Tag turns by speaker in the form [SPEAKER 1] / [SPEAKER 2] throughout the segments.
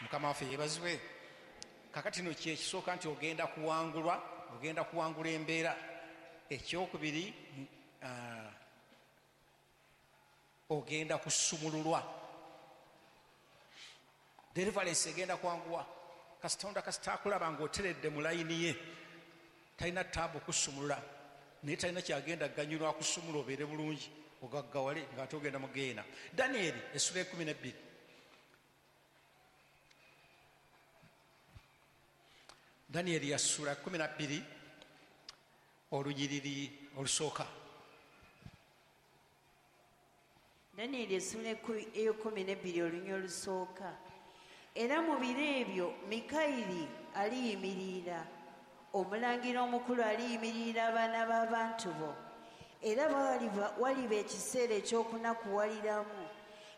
[SPEAKER 1] Mukama waffe yeebazibwe. Kakati no kyekisooka nti ogenda kuwangulwa, ogenda kuwangula embeera. Ekyokubiri, ogenda kusumululwa. Deliverance egenda kwanguwa. Kasita kasita akulaba ng'oteredde mu layini ye, talina taabu kusumulula, naye talina kyagenda ganyulwa akusumula obeere bulungi ogaggawale ng'ate ogenda mu geena. Danieri essula 12. Danieri yasula 12 olunyiriri olusooka.
[SPEAKER 2] Danieri essula 12 olunyiriri olusooka. Era mu biro ebyo Mikayiri aliyimirira, omulangira omukulu aliyimirira abaana b'abantu bo, era waliba ekiseera eky'okunakuwaliramu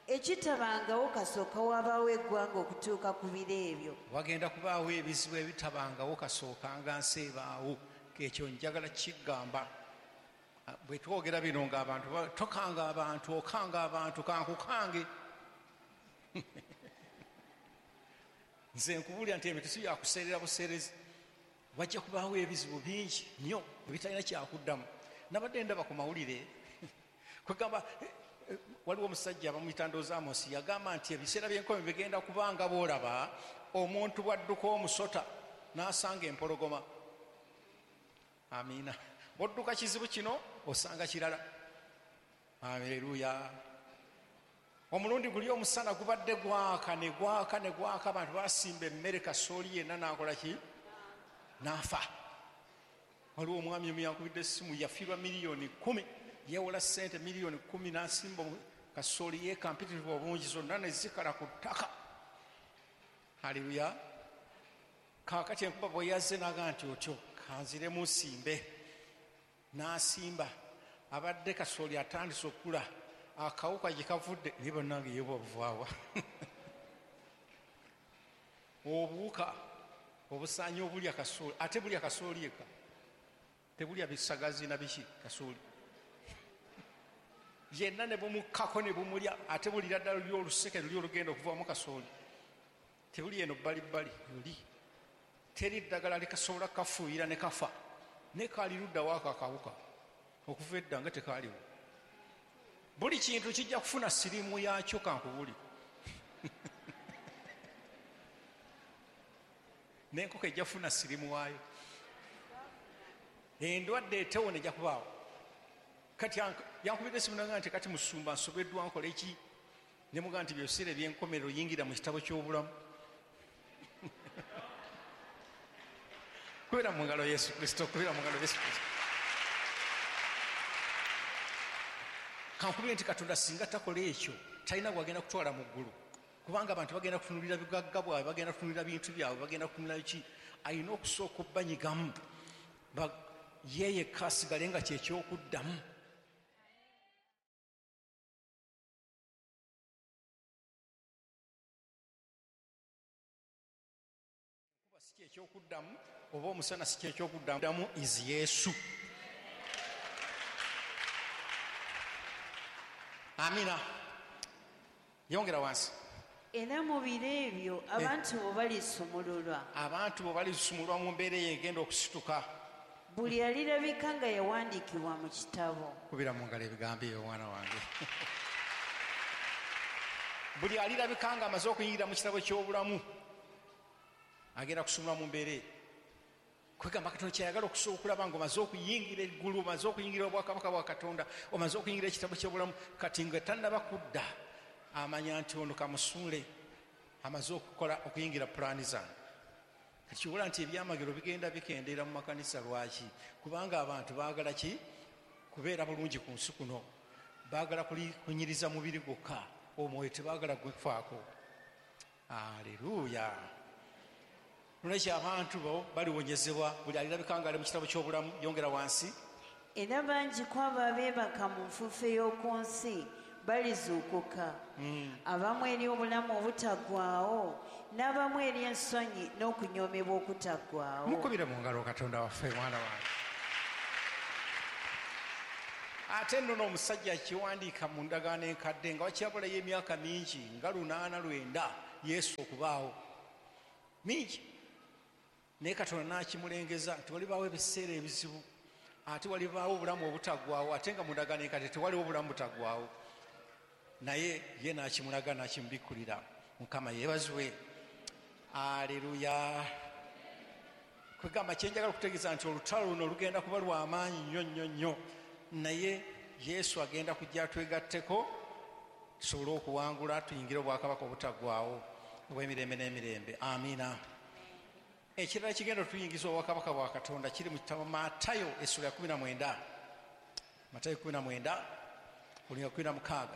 [SPEAKER 2] ekitabangawo kasooka wabaawo eggwanga okutuuka ku biro ebyo.
[SPEAKER 1] Wagenda kubaawo ebizibu ebitabangawo kasookanga nsi ebaawo. Ekyo njagala kigamba. Bwe twogera bino ng'abantu tokanga abantu, okanga abantu, kankukange. Nze nkubuulira nti ebintu si byakuseerera buseerezi. Wajja kubaawo ebizibu bingi nnyo ebitalina kyakuddamu. Nabadde ndaba ku mawulire kwegamba waliwo omusajja bamuyita Ndoozi Amos, yagamba nti ebiseera by'enkomi bigenda kubanga bw'olaba omuntu bw'adduka omusota n'asanga empologoma. Amiina. Bw'odduka kizibu kino osanga kirala. Aleluya. Omulundi guli omusana gubadde gwaka ne gwaka ne gwaka, abantu basimba emmere kasooli yenna n'akola ki? N'afa. Waliwo omwami omu yankubidde essimu, yafiirwa 10 million, yeewola ssente 10 million n'asimba kasooli ye kampitirivu obungi zonna ne zikala ku ttaka. Haleluya. Kaakati enkuba bwe yazze n'agamba nti otyo kanziremu nsimbe, n'asimba. Abadde kasooli atandise okukula, akawuka gye kavudde naye bannange ye bwavaawa. Obuwuka obusaanyi obulya kasooli, ate bulya kasooli eka, tebulya bisagazi na biki, kasooli yenna ne bumukkako ne bumulya, ate bulira ddala luli oluseke luli olugenda okuvamu kasooli, tebuli eno bbalibbali luli, teri ddagala likasobola kafuuyira ne kafa, ne kaali luddawo ako akawuka okuva edda nga tekaaliwo. Buli kintu kijja kufuna siriimu yaakyo, kankubuli. N'enkoko ejja kufuna siriimu waayo, endwadde etewona ejja kubaawo. Kati yankubidde essimu n'agamba nti kati musumba nsobeddwa nkola eki? Ne mugamba nti ebiseera eby'enkomerero yingira mu kitabo ky'obulamu. Kubira mu ngalo Yesu Kristo, kubira mu ngalo Yesu Kristo. Kankubire nti Katonda singa takola ekyo talina gwagenda kutwala mu ggulu, kubanga abantu bagenda kutunulira bigagga bwabwe, bagenda kutunulira bintu byabwe, bagenda kutunulira ki. Alina okusooka obbanyigamu ye yekka asigale nga kyekyokuddamu. Kuba si kyekyokuddamu oba omusana si kyekyokuddamu, is Yesu. Amina. Yongera wansi.
[SPEAKER 2] Era mu biro ebyo abantu bo balisumululwa.
[SPEAKER 1] Abantu bo balisumululwa mu mbeera eyo egenda okusituka.
[SPEAKER 2] Buli alirabika nga yawandiikibwa mu kitabo.
[SPEAKER 1] Kubira mu ngalo ebigambo ebyo mwana wange. Buli alirabika nga amaze okuyingira mu kitabo ky'obulamu agenda kusumulwa mu mbeera eyo. Kwegamba Katonda kyayagala okusobola okulaba ng'omaze okuyingira eggulu, omaze okuyingira obwakabaka bwa Katonda, omaze okuyingira ekitabo ky'obulamu, kati nga tannaba kudda amanya nti ono kamusuule amaze okukola okuyingira pulaani zange. Kati kyobola nti ebyamagero bigenda bikendeera mu makanisa. Lwaki? Kubanga abantu baagala ki? Kubeera bulungi ku nsi kuno, baagala kunyiriza mubiri gwokka, omwoyo tebaagala gwefaako. Aleluya. Nolwekyo abantu bo baliwonyezebwa, buli alirabika nga ali mu kitabo ky'obulamu. Yongera wansi.
[SPEAKER 2] Era bangi ku abo abeebaka mu nfuufu ey'oku nsi balizuukuka, abamu eri obulamu obutaggwaawo, n'abamu eri ensonyi n'okunyoomebwa okutaggwaawo.
[SPEAKER 1] Mukubire mu ngalo Katonda waffe mwana wange. Ate nno n'omusajja akiwandiika mu ndagaano enkadde nga wakyabulayo emyaka mingi nga 809 Yesu okubaawo. Mingi. Naye Katonda n'akimulengeza nti walibaawo ebiseera ebizibu, ate walibaawo obulamu obutaggwaawo, ate nga mu ndagaano enkadde tewaliwo obulamu butaggwaawo. Naye ye n'akimulaga n'akimubikkulira. Mukama yeebazibwe. Aleluya. Kwegamba kyenjagala okutegeeza nti olutalo luno lugenda kuba lw'amaanyi nnyo nnyo nnyo, naye Yesu agenda kujja twegatteko tusobole okuwangula tuyingire obwakabaka obutaggwaawo obw'emirembe n'emirembe. Amiina. Ekirala kigenda otuyingiza obwakabaka bwa Katonda kiri mu kitabo Matayo essula ya 19. Matayo 19 olunyiriri 16.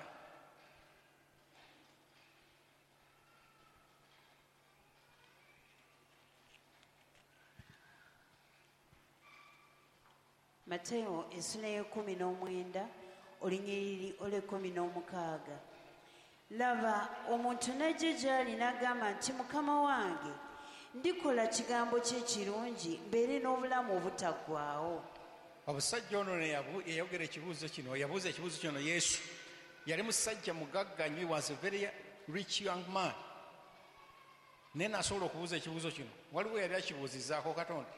[SPEAKER 2] Matayo essula ya 19 olunyiriri olw'16. Laba, omuntu n'ajja gy'ali n'agamba nti, Mukama wange, ndikola kigambo kye kirungi mbeere n'obulamu obutaggwaawo.
[SPEAKER 1] Omusajja ono yayogera ekibuuzo kino, yabuuza ekibuuzo kino Yesu. Yali musajja mugagga nnyo, he was a very rich young man. Naye n'asobola okubuuza ekibuuzo kino. Waliwo yali akibuuzizzaako Katonda.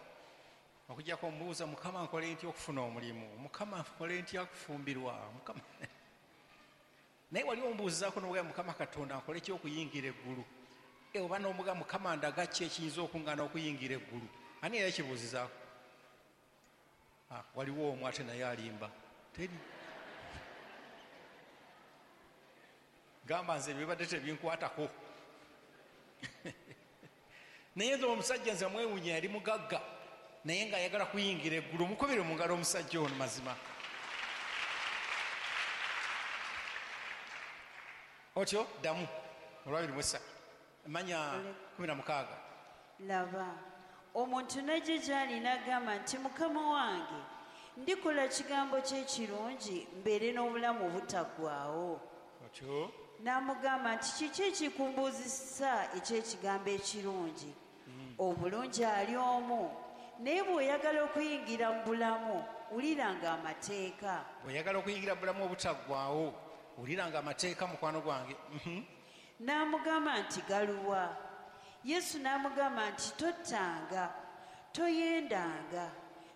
[SPEAKER 1] Okujjako omubuuza, Mukama nkole ntya okufuna omulimu? Mukama nkole ntya okufumbirwa? Mukama. Naye waliwo omubuuzizaako n'ogamba, Mukama Katonda nkole ki okuyingira eggulu? Oba n'omugamba, Mukama ndaga ki ekiyinza okungaana okuyingira eggulu? Ani yali akibuuzizaako? Waliwo omu ate naye alimba. Teri. Gamba nze bibadde tebinkwatako. Naye nze omusajja nze mwewuunya, yali mugagga naye ng'ayagala kuyingira eggulu. Mukubire mu ngalo omusajja ono mazima. Otyo ddamu olwabiri mu ssatu manya 16.
[SPEAKER 2] Laba, omuntu n'ajja gy'ali n'agamba nti, Mukama wange, ndikola kigambo kye kirungi mbeere n'obulamu obutaggwaawo.
[SPEAKER 1] Otyo
[SPEAKER 2] n'amugamba nti, kiki ekikumbuuzisa eky'ekigambo ekirungi? Omulungi ali omu, naye bw'oyagala okuyingira mu bulamu, wuliranga amateeka.
[SPEAKER 1] Bw'oyagala okuyingira mu bulamu obutaggwaawo, wuliranga amateeka, mukwano gwange.
[SPEAKER 2] N'amugamba nti, galuwa? Yesu n'amugamba nti, tottanga, toyendanga,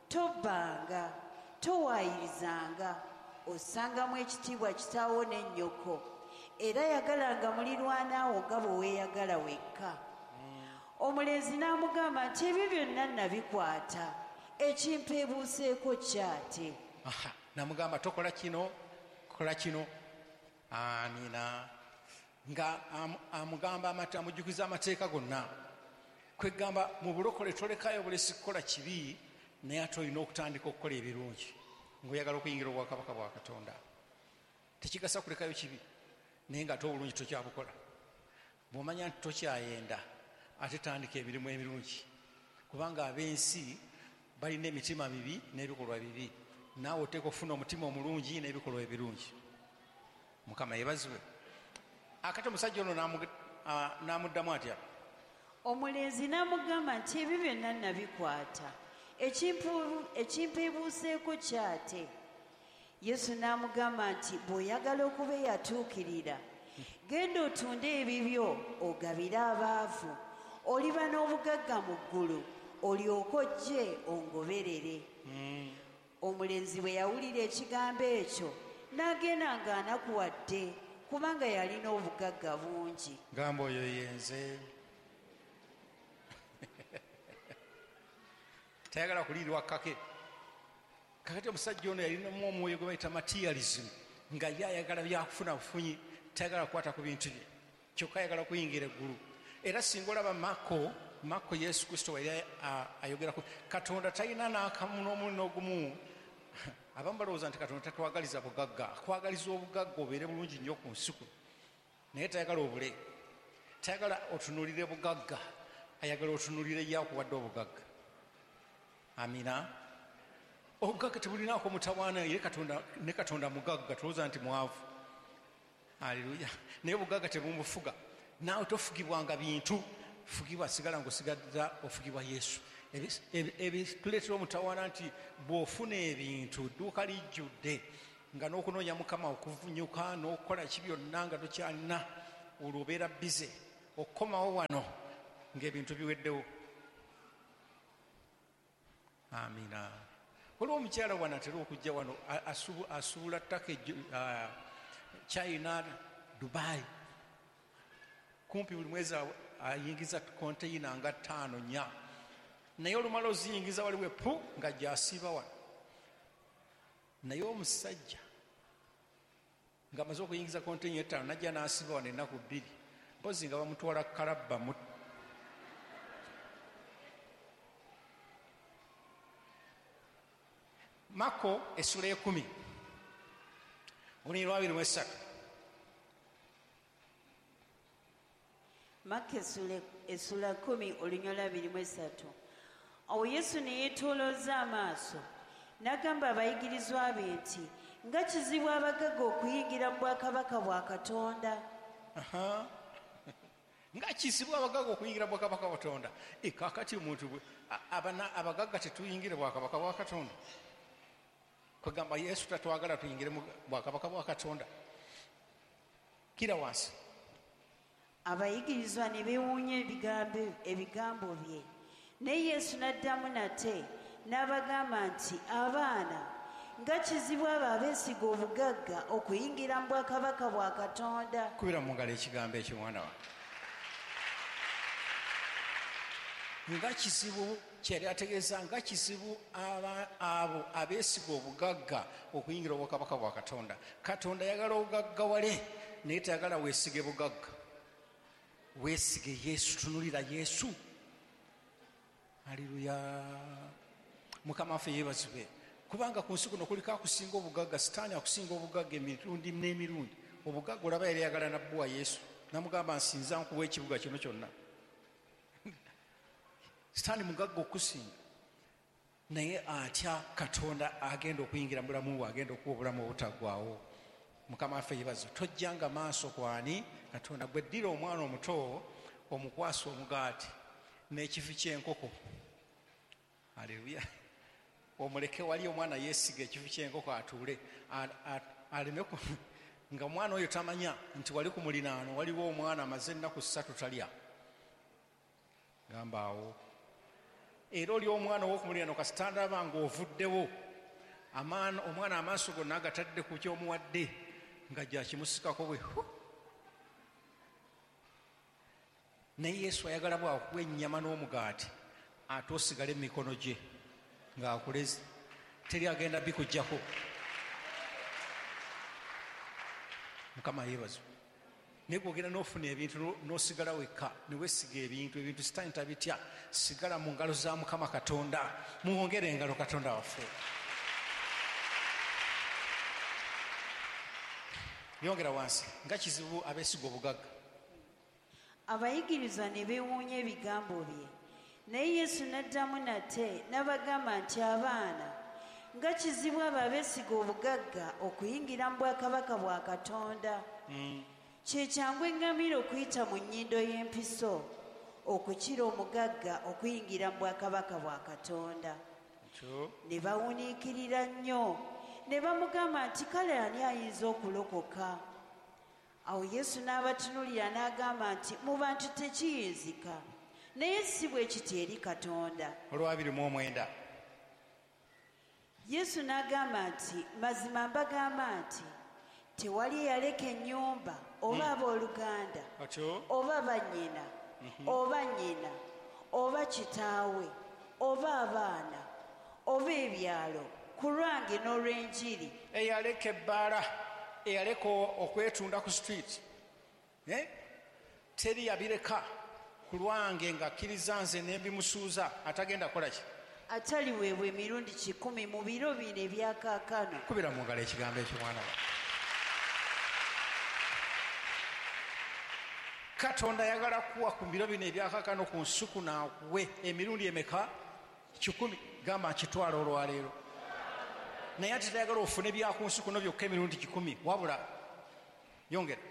[SPEAKER 2] tobbanga, towaayirizanga, ossangamu ekitiibwa kitaawo ne nnyoko, era yagalanga mulirwanaawo nga bwe weeyagala wekka. Omulenzi n'amugamba nti, ebyo byonna nabikwata, ekimpeebuuseeko kyate.
[SPEAKER 1] N'amugamba tokola kino, kola kino. Amiina. Nga amugamba amujjukiza amateeka gonna. Kwegamba mu bulokole tolekayo bulesi kukola kibi, naye ate olina okutandika okukola ebirungi ng'oyagala okuyingira obwakabaka bwa Katonda. Tekigasa kulekayo kibi naye ng'ate obulungi tokyabukola. Bw'omanya nti tokyayenda, ate tandika emirimu emirungi, kubanga ab'ensi balina emitima mibi n'ebikolwa bibi, naawe oteeka okufuna omutima omulungi n'ebikolwa ebirungi. Mukama yeebazibwe. Akati omusajja ono n'amuddamu atya?
[SPEAKER 2] Omulenzi n'amugamba nti, ebyo byonna nabikwata, ekimpeebuuseeko kyate. Yesu n'amugamba nti, bw'oyagala okuba eyatuukirira, genda otunde ebibyo ogabire abaavu, oliba n'obugagga mu ggulu, olyoke ojje ongoberere. Omulenzi bwe yawulira ekigambo ekyo n'agenda ng'anakuwadde, kubanga yalina obugagga bungi.
[SPEAKER 1] Gamba oyo yenze. Tayagala kuliirwa kake. Kakati omusajja ono yalinamu omwoyo gwe bayita materialism, nga ye ayagala byakufuna bufunyi, tayagala kukwata ku bintu bye, kyokka ayagala kuyingira eggulu. Era singa olaba Mako Yesu Kristo yali ayogera ku Katonda talina n'akamu n'omu n'ogumu. Abamu balowooza nti Katonda tatwagaliza bugagga, akwagaliza obugagga obeere bulungi nnyo ku nsi kuno, naye tayagala obule, tayagala otunuulire bugagga, ayagala otunuulire ye akuwadde obugagga. Amina. Obugagga tebulinaako mutawaana, ye Katonda ne Katonda mugagga, tulowooza nti mwavu. Aleluya. Naye obugagga tebumufuga. Naawe tofugibwanga bintu, fugibwa sigala ng'osigadde ofugibwa Yesu. Ebituleetera omutawaana nti bw'ofuna ebintu dduuka lijjudde nga n'okunoonya Mukama okuvunyuka n'okukola ki byonna nga tokyalina, olwo obeera bize okukomawo wano Ng'ebintu biweddewo. Amina. Waliwo omukyala wano atera okujja wano asuubula ttaka China, Dubai. Kumpi buli mwezi ayingiza konteyina nga 5 4. Naye olumala oziyingiza waliwo epu nga gy'asiiba wano. Naye omusajja ng'amaze okuyingiza konteyina 5 n'ajja n'asiiba wano ennaku 2. Mpozi nga bamutwala kalabba mu Mako essula 10 olunyiriri 23.
[SPEAKER 2] Mako essula 10 olunyiriri 23. Awo Yesu ne yeetoolooza amaaso n'agamba abayigirizwa be nti nga kizibu abagagga okuyingira mu bwakabaka bwa Katonda.
[SPEAKER 1] Nga kizibu abagagga okuyingira mu bwakabaka bwa Katonda. Kaakati omuntu abagagga tetuyingire bwakabaka bwa Katonda. Kugamba Yesu tatwagala tuyingire mu bwakabaka bwa Katonda. Kira wansi.
[SPEAKER 2] Abayigirizwa ne beewuunya ebigambo bye. Naye Yesu n'addamu nate n'abagamba nti abaana nga kizibu abo abeesiga obugagga okuyingira mu bwakabaka bwa Katonda.
[SPEAKER 1] Kubira mu ngalo ekigambo ekyo mwana wange. Nga kizibu kyeyali ategeeza nga kizibu abo abeesiga obugagga okuyingira obwakabaka bwa Katonda. Katonda ayagala obugaggawale naye tayagala weesige bugagga. Weesige Yesu, tunulira Yesu. Haleluya. Mukama waffe yeebazibwe. Kubanga ku nsi kuno kuliko akusinga obugagga, Sitaani akusinga obugagga emirundi n'emirundi. Obugagga olaba yali ayagala nabbuwa Yesu. Namugamba nsinza nkuwa ekibuga kino kyonna. Sitaani mugagga okusinga. Naye atya Katonda agenda okuyingira mu bulamu bwe, agenda okuwa obulamu obutaggwaawo. Mukama waffe yeebazibwe. Tojjanga maaso kwani Katonda. Gwe ddira omwana omuto omukwasa omugaati n'ekifi ky'enkoko. Haleluya. Omuleke wali omwana yeesiga ekifi ky'enkoko atuule aleme nga omwana oyo tamanya nti wali ku mulinaano waliwo omwana amaze ennaku 3 talya. Gamba awo. Era oli omwana ow'okumuliraano kasita ndaba ng'ovuddewo omwana amaaso gonna agatadde ku ky'omuwadde nga gyakimusikako bwe. Naye Yesu ayagala bw'akuwa ennyama n'omugaati ate osigale mu mikono gye ng'akuleze. Teri agenda bikuggyako. Mukama yeebazibwe. Naye bw'ogenda n'ofuna ebintu n'osigala wekka ne weesiga ebintu Sitaani tabitya. Sigala mu ngalo za Mukama Katonda. Muwongere engalo Katonda waffe. Yongera wansi. Nga kizibu abeesiga obugagga.
[SPEAKER 2] Abayigirizwa ne beewuunya ebigambo bye. Naye Yesu n'addamu nate n'abagamba nti abaana nga kizibu abo abeesiga obugagga okuyingira mu bwakabaka bwa Katonda. Kye kyangu eŋŋamira okuyita mu nnyindo y'empiso okukira omugagga okuyingira mu bwakabaka bwa Katonda. Ne bawuniikirira nnyo ne bamugamba nti kale ani ayinza okulokoka? Awo Yesu n'abatunuulira n'agamba nti mu bantu tekiyinzika naye si bwe kiti eri Katonda.
[SPEAKER 1] Olwa 29.
[SPEAKER 2] Yesu n'agamba nti mazima mbagamba nti tewali eyaleka ennyumba oba abooluganda oba bannyina oba nnyina oba kitaawe oba abaana oba ebyalo ku lwange n'olw'enjiri.
[SPEAKER 1] Eyaleka ebbaala, eyaleka okwetunda ku street, teri yabireka ku lwange ng'akkiriza nze ne mbimusuuza atagenda kukola ki?
[SPEAKER 2] Ataliweebwa emirundi 1,000 mu biro bino ebyakaakano.
[SPEAKER 1] Kubira mu ngalo ekigambo ekyo mwana wange. Katonda ayagala kuwa ku biro bino ebyakaakano ku nsi kuno akuwe emirundi emeka? 1,000. Gamba nkitwala olwaleero. Naye ate tayagala ofune bya ku nsi kuno byokka emirundi 1,000 wabula yongera.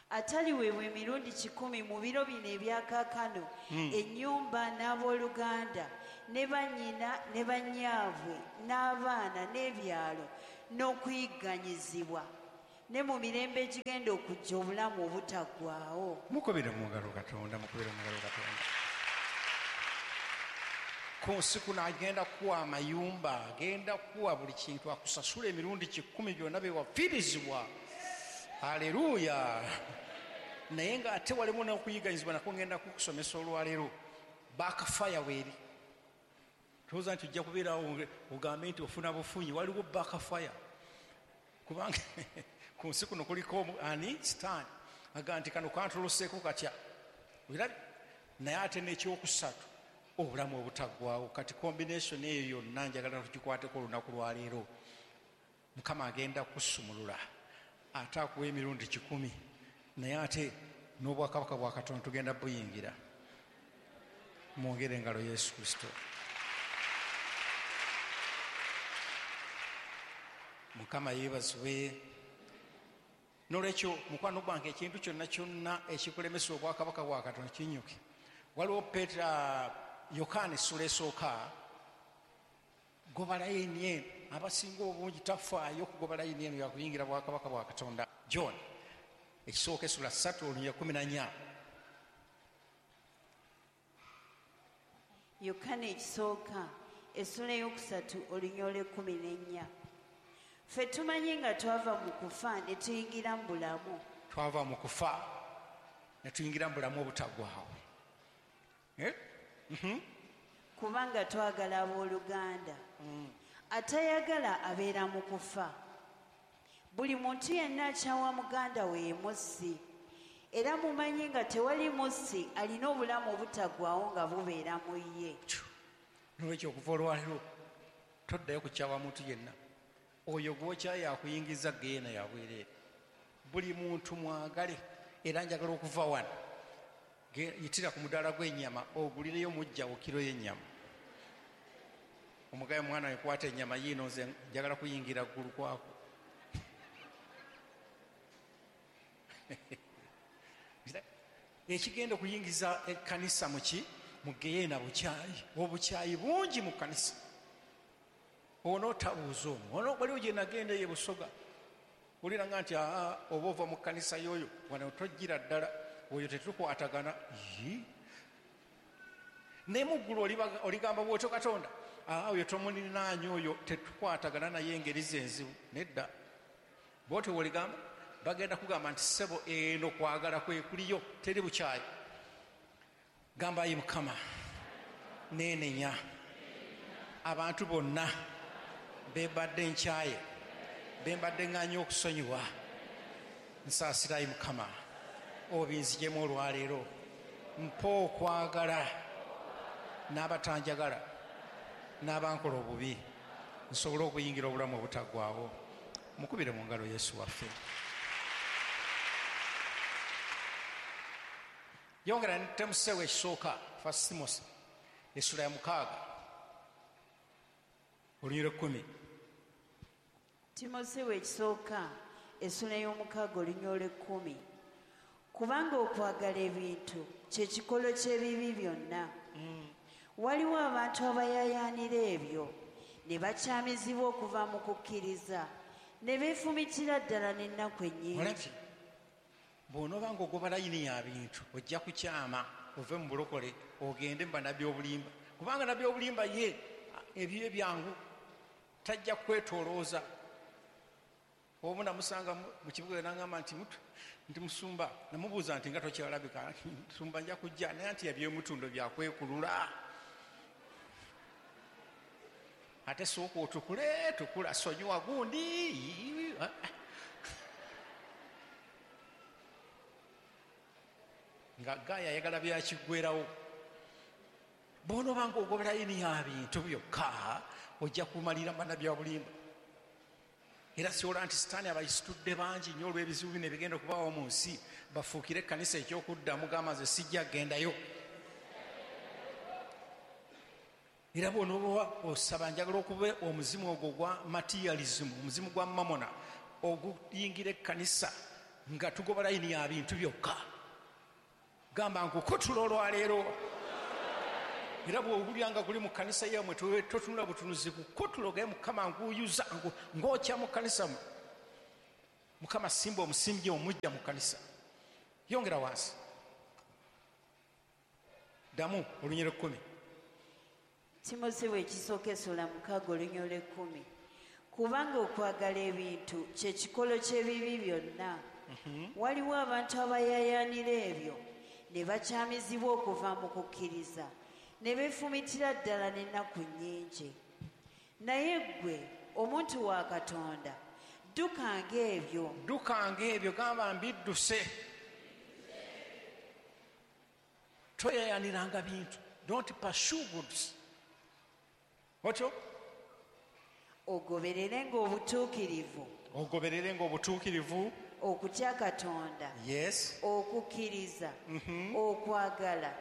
[SPEAKER 2] Ataliweebwa emirundi 1,000 mu biro bino ebyakaakano ennyumba n'abooluganda ne bannyina ne bannyaabwe n'abaana n'ebyalo n'okuyigganyizibwa Ne mu mirembe egigenda okujja obulamu obutaggwaawo.
[SPEAKER 1] Mukubire mu ngalo Katonda, mukubire mu ngalo Katonda. Ku nsi kuno agenda kuwa amayumba, agenda kuwa buli kintu, akusasula emirundi 10 byonna bye wafiirizibwa. Haleluya. Naye ng'ate walimu n'okuyiganyizibwa nakwo ngenda kukusomesa olwaleero. Backfire weeri. Towooza nti ojja kubeerawo ogambe nti ofuna bufunyi, waliwo backfire. Kubanga ku nsi kuno kuliko ani Sitaani agamba nti kano kantoloseeko katya. Olabye? Naye ate n'ekyokusatu obulamu obutaggwaawo. Kati combination eyo yonna njagala tugikwateko olunaku lwaleero. Mukama agenda kusumulula ate akuwa emirundi 10, naye ate n'obwakabaka bwa Katonda tugenda buyingira. Mwongere engalo Yesu Kristo. Mukama yeebazibwe. N'olwekyo mukwano gwange, ekintu kyonna kyonna ekikulemesa obwakabaka bwa Katonda kinyuke. Waliwo Yokaana essula esooka, goba layini eno. Abasinga obungi tafaayo kugoba layini eno yakuyingira bwakabaka bwa Katonda. John ekisooka essula 3 olunyiriri 14.
[SPEAKER 2] Yokaana ekisooka essula 3 olunyiriri 14. Ffe tumanyi nga twava mu kufa ne tuyingira mu bulamu.
[SPEAKER 1] Twava mu kufa ne tuyingira mu bulamu obutaggwaawo.
[SPEAKER 2] Kubanga twagala abooluganda. Atayagala abeera mu kufa. Buli muntu yenna akyawa muganda we ye mussi. Era mumanyi nga tewali mussi alina obulamu obutaggwaawo nga bubeera mu ye.
[SPEAKER 1] N'olwekyo okuva olwaleero toddayo kukyawa muntu yenna. Oyo gw'okyaye akuyingiza geena ya bwereere. Buli muntu mwagale. Era njagala okuva wano yitira ku mudaala gw'ennyama ogulireyo mujjawo kiro y'ennyama. Omugaye mwana we kwata ennyama yiino, nze njagala kuyingira ggulu kwako. Ekigenda okuyingiza ekkanisa muki mu geena bukyayi. Obukyayi bungi mu kkanisa. Onootabuuza omwo. Ono waliwo gye nagenda eyo e Busoga. Wulira nga nti oba ova mu kkanisa y'oyo wano tojjira ddala, oyo tetukwatagana. Naye mu ggulu oligamba bw'otyo Katonda, oyo tomuninaanya, oyo tetukwatagana naye engeri ze enzibu. Nedda. Bw'otyo bw'oligamba, bagenda kugamba nti ssebo eno kwagala kwe kuliyo, teri bukyayi. Gamba ayi Mukama, neenenya abantu bonna bembadde nkyaye, bembadde ŋŋaanye okusonyiwa. Nsaasira ayi Mukama, obinzigyemu olwaleero. Mpa okwagala n'abatanjagala n'abankola obubi, nsobole okuyingira obulamu obutaggwaawo. Mukubire mu ngalo Yesu waffe. Yongera ne Timoseewo ekisooka, First Timothy essula ya 6 olunyiriri 10.
[SPEAKER 2] Timoseewo ekisooka essula 6 olunyiriri 10. Kubanga okwagala ebintu kye kikolo ky'ebibi byonna. Waliwo abantu abayaayaanira ebyo ne bakyamizibwa okuva mu kukkiriza ne beefumitira ddala n'ennaku ennyingi.
[SPEAKER 1] Olabye? Bw'onooba ng'ogoba layini ya bintu ojja kukyama ove mu bulokole ogende mu bannabbi obulimba, kubanga nabbi obulimba ye ebyo byangu, tajja kwetolooza. Omu namusanga mu kibuga n'aŋŋamba nti nti musumba, namubuuza nti nga tokyalabika, musumba nja kujja, naye nti ebyomutundo byakwekulula. Ate sooka otukule, tukula sonyiwa gundi. Nga gaaya ayagala byakiggwerawo. Bw'onooba ng'ogoba layini ya bintu byokka ojja kumalira bannabbi obulimba. Era siola nti Sitaani abayisitudde bangi nnyo olw'ebizibu bino ebigenda okubaawo mu nsi, bafuukire ekkanisa ekyokuddamu, gamba nze sijja kugendayo. Era bw'onooba osaba njagala okuba omuzimu ogwo ogwa materialism, omuzimu gwa mamona oguyingira ekkanisa nga tugoba layini ya bintu byokka. Gamba nkukutula olwaleero. Era bw'owulira nga guli mu kkanisa yammwe totunula butunuzi, kukutula ogaye Mukama nguyuza ng'okya mu kkanisa mu. Mukama simba omusimbye omujja mu kkanisa. Yongera wansi, ddamu olunyiriri 10.
[SPEAKER 2] Timoseewo ekisooka essula 6 olunyiriri 10. Kubanga okwagala ebintu kye kikolo ky'ebibi byonna. Waliwo abantu abayaayaanira ebyo ne bakyamizibwa okuva mu kukkiriza ne beefumitira ddala n'ennaku nnyingi. Naye ggwe omuntu wa Katonda, ddukanga ebyo.
[SPEAKER 1] Ddukanga ebyo, gamba mbidduse. Toyayaniranga bintu. Don't pursue goods. Otyo?
[SPEAKER 2] Ogobererenga obutuukirivu.
[SPEAKER 1] Ogobererenga obutuukirivu.
[SPEAKER 2] Okutya Katonda.
[SPEAKER 1] Yes.
[SPEAKER 2] Okukkiriza. Okwagala.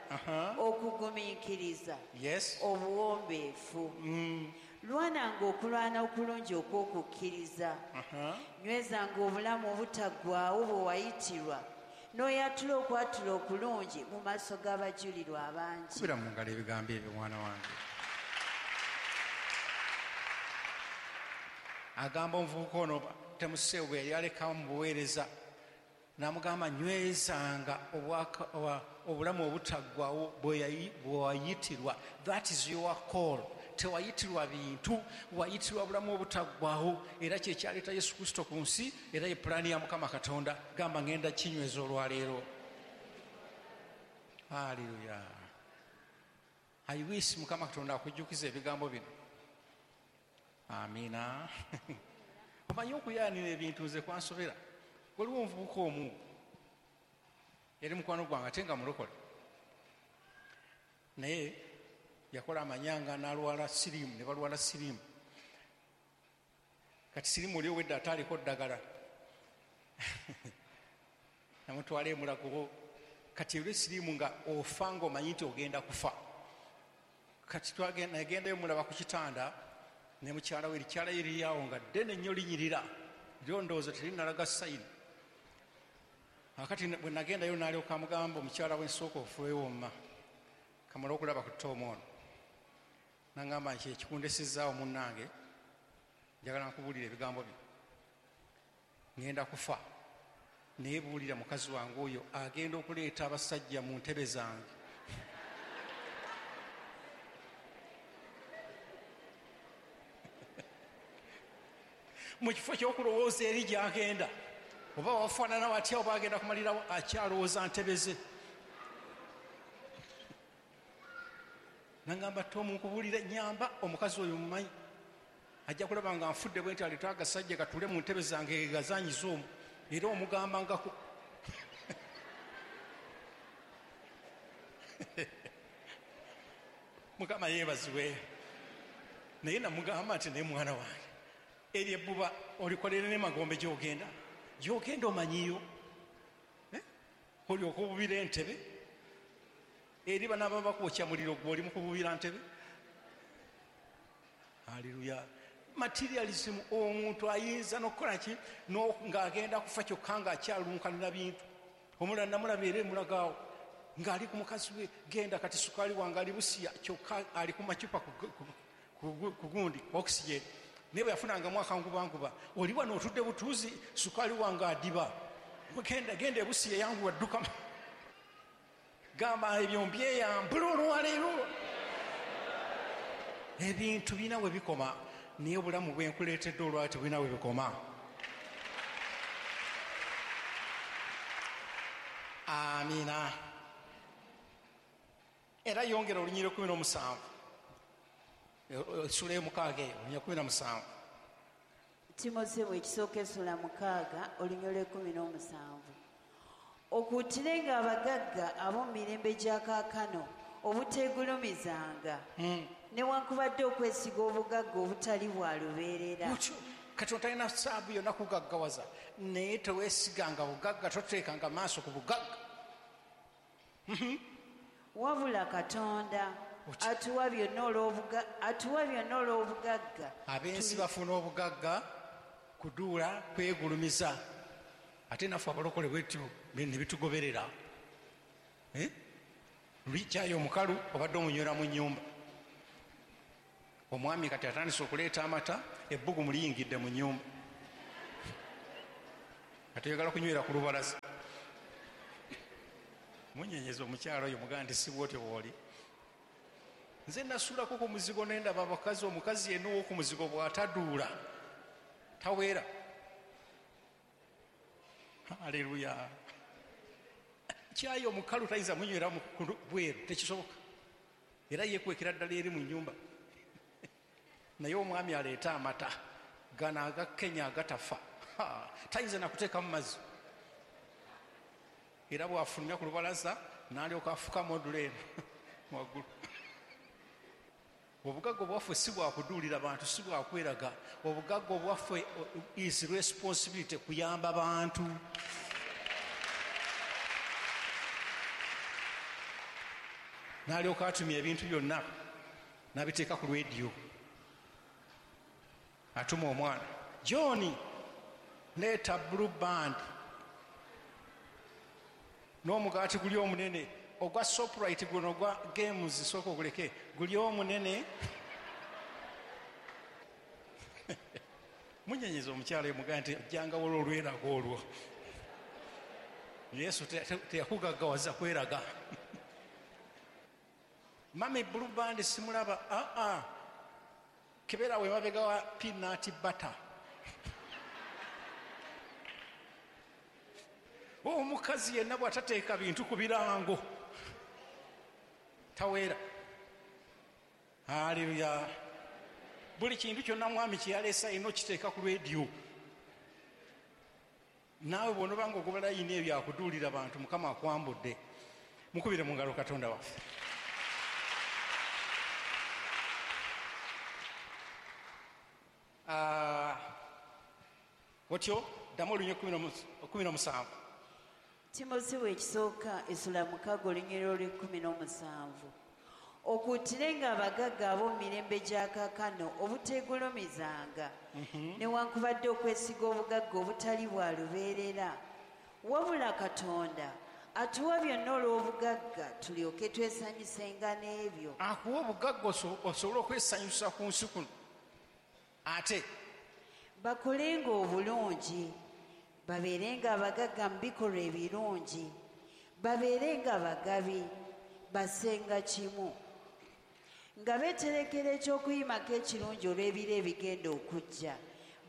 [SPEAKER 2] Okugumiikiriza.
[SPEAKER 1] Yes.
[SPEAKER 2] Obuwombeefu. Lwananga okulwana okulungi okw'okukkiriza. Nywezanga obulamu obutaggwaawo bwe wayitirwa, n'oyatula okwatula okulungi mu maaso g'abajulirwa abangi.
[SPEAKER 1] Kubira mu ngalo ebigambo ebyo, mwana wange. Agamba omuvubuka ono Timoseewo bwe yali alekawo mu buweereza, n'amugamba nywezanga obulamu obutaggwaawo bwe wayitirwa. That is your call. Tewayitirwa bintu, wayitirwa bulamu obutaggwaawo, era kye kyaleeta Yesu Kristo ku nsi, era ye pulaani ya Mukama Katonda. Gamba ngenda kinyweza olwaleero. Haleluya. I wish Mukama Katonda akujjukiza ebigambo bino. Amina. Omanyi okuyaanira ebintu nze kwansobera. Waliwo omuvubuka omu yali mukwano gwange ate nga mulokole, naye yakola amanyanga n'alwala siriimu, ne balwala siriimu. Kati siriimu oli owedde ataaliko ddagala, namutwala emulago. Kati eri siriimu nga ofa ng'omanyi nti ogenda kufa. Kati nagendayo mulaba ku kitanda ne mukyala we, erikyala ye liri awo nga ddene nnyo linyirira, lyo ndowooza terinalaga sayini. Akati bwe nagendayo n'alyoka amugamba omukyala we, nsooka ofuweewo mma kamala okulaba ku Tom ono. Nangamba nti ekikundesezaawo munnange, njagala nkubuulira ebigambo bino. Ngenda kufa, naye buulira mukazi wange oyo agenda okuleeta abasajja mu ntebe zange. Mu kifo ky'okulowooza eri gy'agenda, oba wafaanana watya, oba agenda kumalirawo, akyalowooza ntebe ze. Nangamba Tom nkubuulira, nyamba omukazi oyo mumanyi, ajja kulaba nga nfudde bwe nti aleeta agasajja gatuule mu ntebe zange gazanyiza omwo, era omugamba ngako. Mukama yeebazibwe. Naye namugamba nti naye mwana wange, eryo ebbuba olikolere ne magombe gy'ogenda, gy'ogenda omanyiyo, olyoka obubira entebe eri banaaba bakwokya muliro gwe oli mu kububira ntebe. Haleluya. Materialism, omuntu ayinza n'okukola ki ng'agenda kufa kyokka ng'akyalunkanira bintu. Omulala namulaba era emulagaawo ng'ali ku mukazi we, genda kati sukaali wange ali Busia, kyokka ali ku macupa ku gundi oxygen. Naye bwe yafunangamu akangubanguba, oli wano otudde butuuzi, sukaali wange adiba, genda genda ebusiya yanguwa dduka. Gamba ebyo mbyeyambula olwaleero. Ebintu birina we bikoma, naye obulamu bwe nkuleetedde olwaleero tebulina we bikoma. Amiina. Era yongera olunyiriri 17, essula 6 eyo, olunyiriri 17.
[SPEAKER 2] Timoseewo ekisooka essula 6 olunyiriri 17. Okuutirenga abagagga ab'omu mirembe gya kaakano obuteegulumizanga, newankubadde okwesiga obugagga obutali bwa lubeerera.
[SPEAKER 1] Katonda talina saabu yonna kugaggawaza, naye teweesiganga bugagga, toteekanga maaso ku bugagga.
[SPEAKER 2] Wabula Katonda atuwa byonna olw'obugagga.
[SPEAKER 1] Ab'ensi bafuna obugagga kuduula kwegulumiza, ate naffe abalokole bwetyo ne bitugoberera. Lwikyayo omukalu obadde omunywera mu nnyumba, omwami kati atandise okuleeta amata, ebbugumu liyingidde mu nnyumba. Ate oyagala kunywera ku lubalaza. Munyenyeza omukyalo oyo mugamba nti si bw'otyo bw'oli. Nze nasulako ku muzigo ne ndaba abakazi, omukazi yenna ow'oku muzigo bw'ataduula taweera. Haleluya. Kyayi omukalu tayinza munywera mu bweru, tekisoboka. Era yeekwekera ddala eri mu nnyumba. Naye omwami aleeta amata gano aga Kenya agatafa, tayinza nakuteekamu mazzi. Era bw'afulumya ku lubalaza n'alyoka afuka modula eno waggulu. Obugagga obwaffe si bwakuduulira bantu, si bwakweraga. Obugagga obwaffe is responsibility kuyamba bantu. N'alyoka atumya ebintu byonna n'abiteeka ku rediyo. Atuma omwana, John, leeta blue band n'omugaati guli omunene ogwa Shoprite guno ogwa games, sooka oguleke guli omunene. Munyenyeza omukyala omugaa nti ojjanga wala olweraga olwo. Yesu teyakugaggawaza kweraga. Mami blue band simulaba, kebera we mabega wa peanut butter. Omukazi yenna bw'atateeka bintu ku birango taweera. Haleluya. Buli kintu kyonna mwami kye yaleese alina okiteeka ku rediyo. Naawe bw'onoba ng'ogoba layini ebyo akuduulira bantu, Mukama akwambudde. Mukubire mu ngalo Katonda waffe. Otyo ddamu olunyiriri 17.
[SPEAKER 2] Timoseewo ekisooka essula 6 olunyiriri olw'e-17. Okuutirenga abagagga ab'omu mirembe gya kaakano obuteegulumizanga, newankubadde okwesiga obugagga obutali bwa lubeerera. Wabula Katonda atuwa byonna olw'obugagga tulyoke twesanyusenga n'ebyo.
[SPEAKER 1] Akuwa obugagga osobole okwesanyusa ku nsi kuno. Ate
[SPEAKER 2] bakolenga obulungi, babeerenga abagagga mu bikolwa ebirungi, babeerenga abagabi, basenga kimu, nga beeterekera eky'okuyimako ekirungi olw'ebiro ebigenda okujja,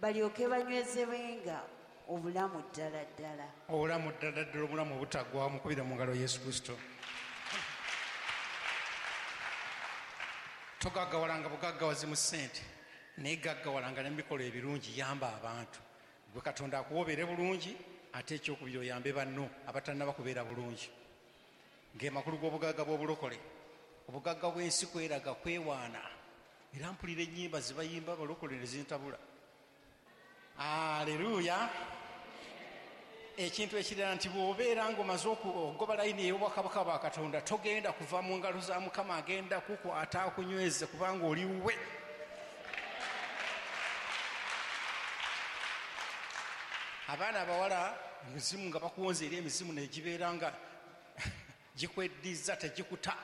[SPEAKER 2] balyoke banywezebwenga obulamu ddala ddala.
[SPEAKER 1] Obulamu ddala ddala, obulamu obutaggwaawo. Mukubire mu ngalo Yesu Kristo. Togaggawalanga bugaggawazi mu ssente, naye gaggawalanga ne mu bikolwa ebirungi. Yamba abantu. Gwe Katonda akuwa obeere bulungi, ate ekyokubiri oyambe banno abatannaba kubeera bulungi. Ng'emakulu g'obugagga bw'obulokole, obugagga bw'ensi kweraga kwewaana. Era mpulira ennyimba zibayimba abalokole ne zintabula. Aleluya. Ekintu ekirala nti bw'obeera ng'omaze okugoba layini ey'obwakabaka bwa Katonda, togenda kuva mu ngalo za Mukama, agenda kukwata akunyweze kubanga oli wuwe. Abaana abawala emizimu nga bakuwonza eri emizimu negibeera nga gikweddiza tegikuta.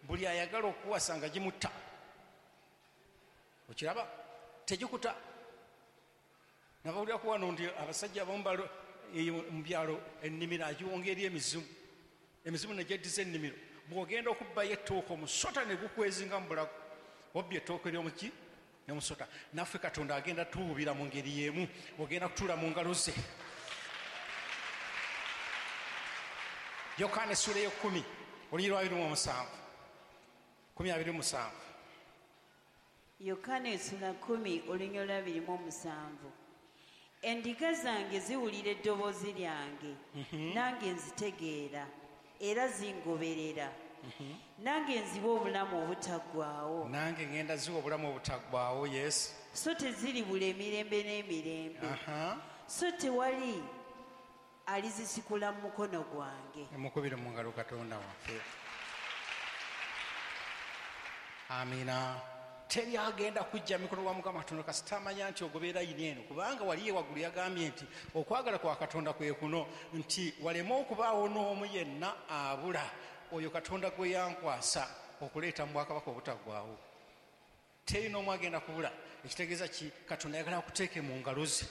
[SPEAKER 1] Buli ayagala okuwasa nga gimutta. Okiraba? Tegikuta. Nabawulira wano nti abasajja abamu mu byalo ennimiro agiwonga eri emizimu. Emizimu negyeddiza ennimiro. Bw'ogenda okubbayo ettooke omusota ne gukwezinga mu bulago. Obbye ettooke ly'omuki? N'omusota. Naffe Katonda agenda tuwubira mu ngeri y'emu, ogenda kutuula mu ngalo ze. Yokaana essula ey'ekkumi olunyiriri lwa 27. 27.
[SPEAKER 2] Yokaana essula 10 olunyiriri lwa 27. Endiga zange ziwulira eddoboozi lyange, nange nzitegeera era zingoberera. Nange nziwa obulamu obutaggwaawo.
[SPEAKER 1] Nange ngenda ziwa obulamu obutaggwaawo, yes.
[SPEAKER 2] So teziribula emirembe n'emirembe. So tewali alizisikula mu mukono gwange.
[SPEAKER 1] Mukubire mu ngalo Katonda waffe. Amina. Teri agenda kujja mikono gwa Mukama Katonda kasita amanya nti ogoberera layini eno, kubanga wali waggulu yagambye nti okwagala kwa Katonda kwe kuno, nti waleme okubaawo n'omu yenna abula oyo Katonda gwe yankwasa okuleeta mu bwakabaka obutaggwaawo. Teri n'omu agenda kubula. Ekitegeeza ki? Katonda ayagala akuteeke mu ngalo ze.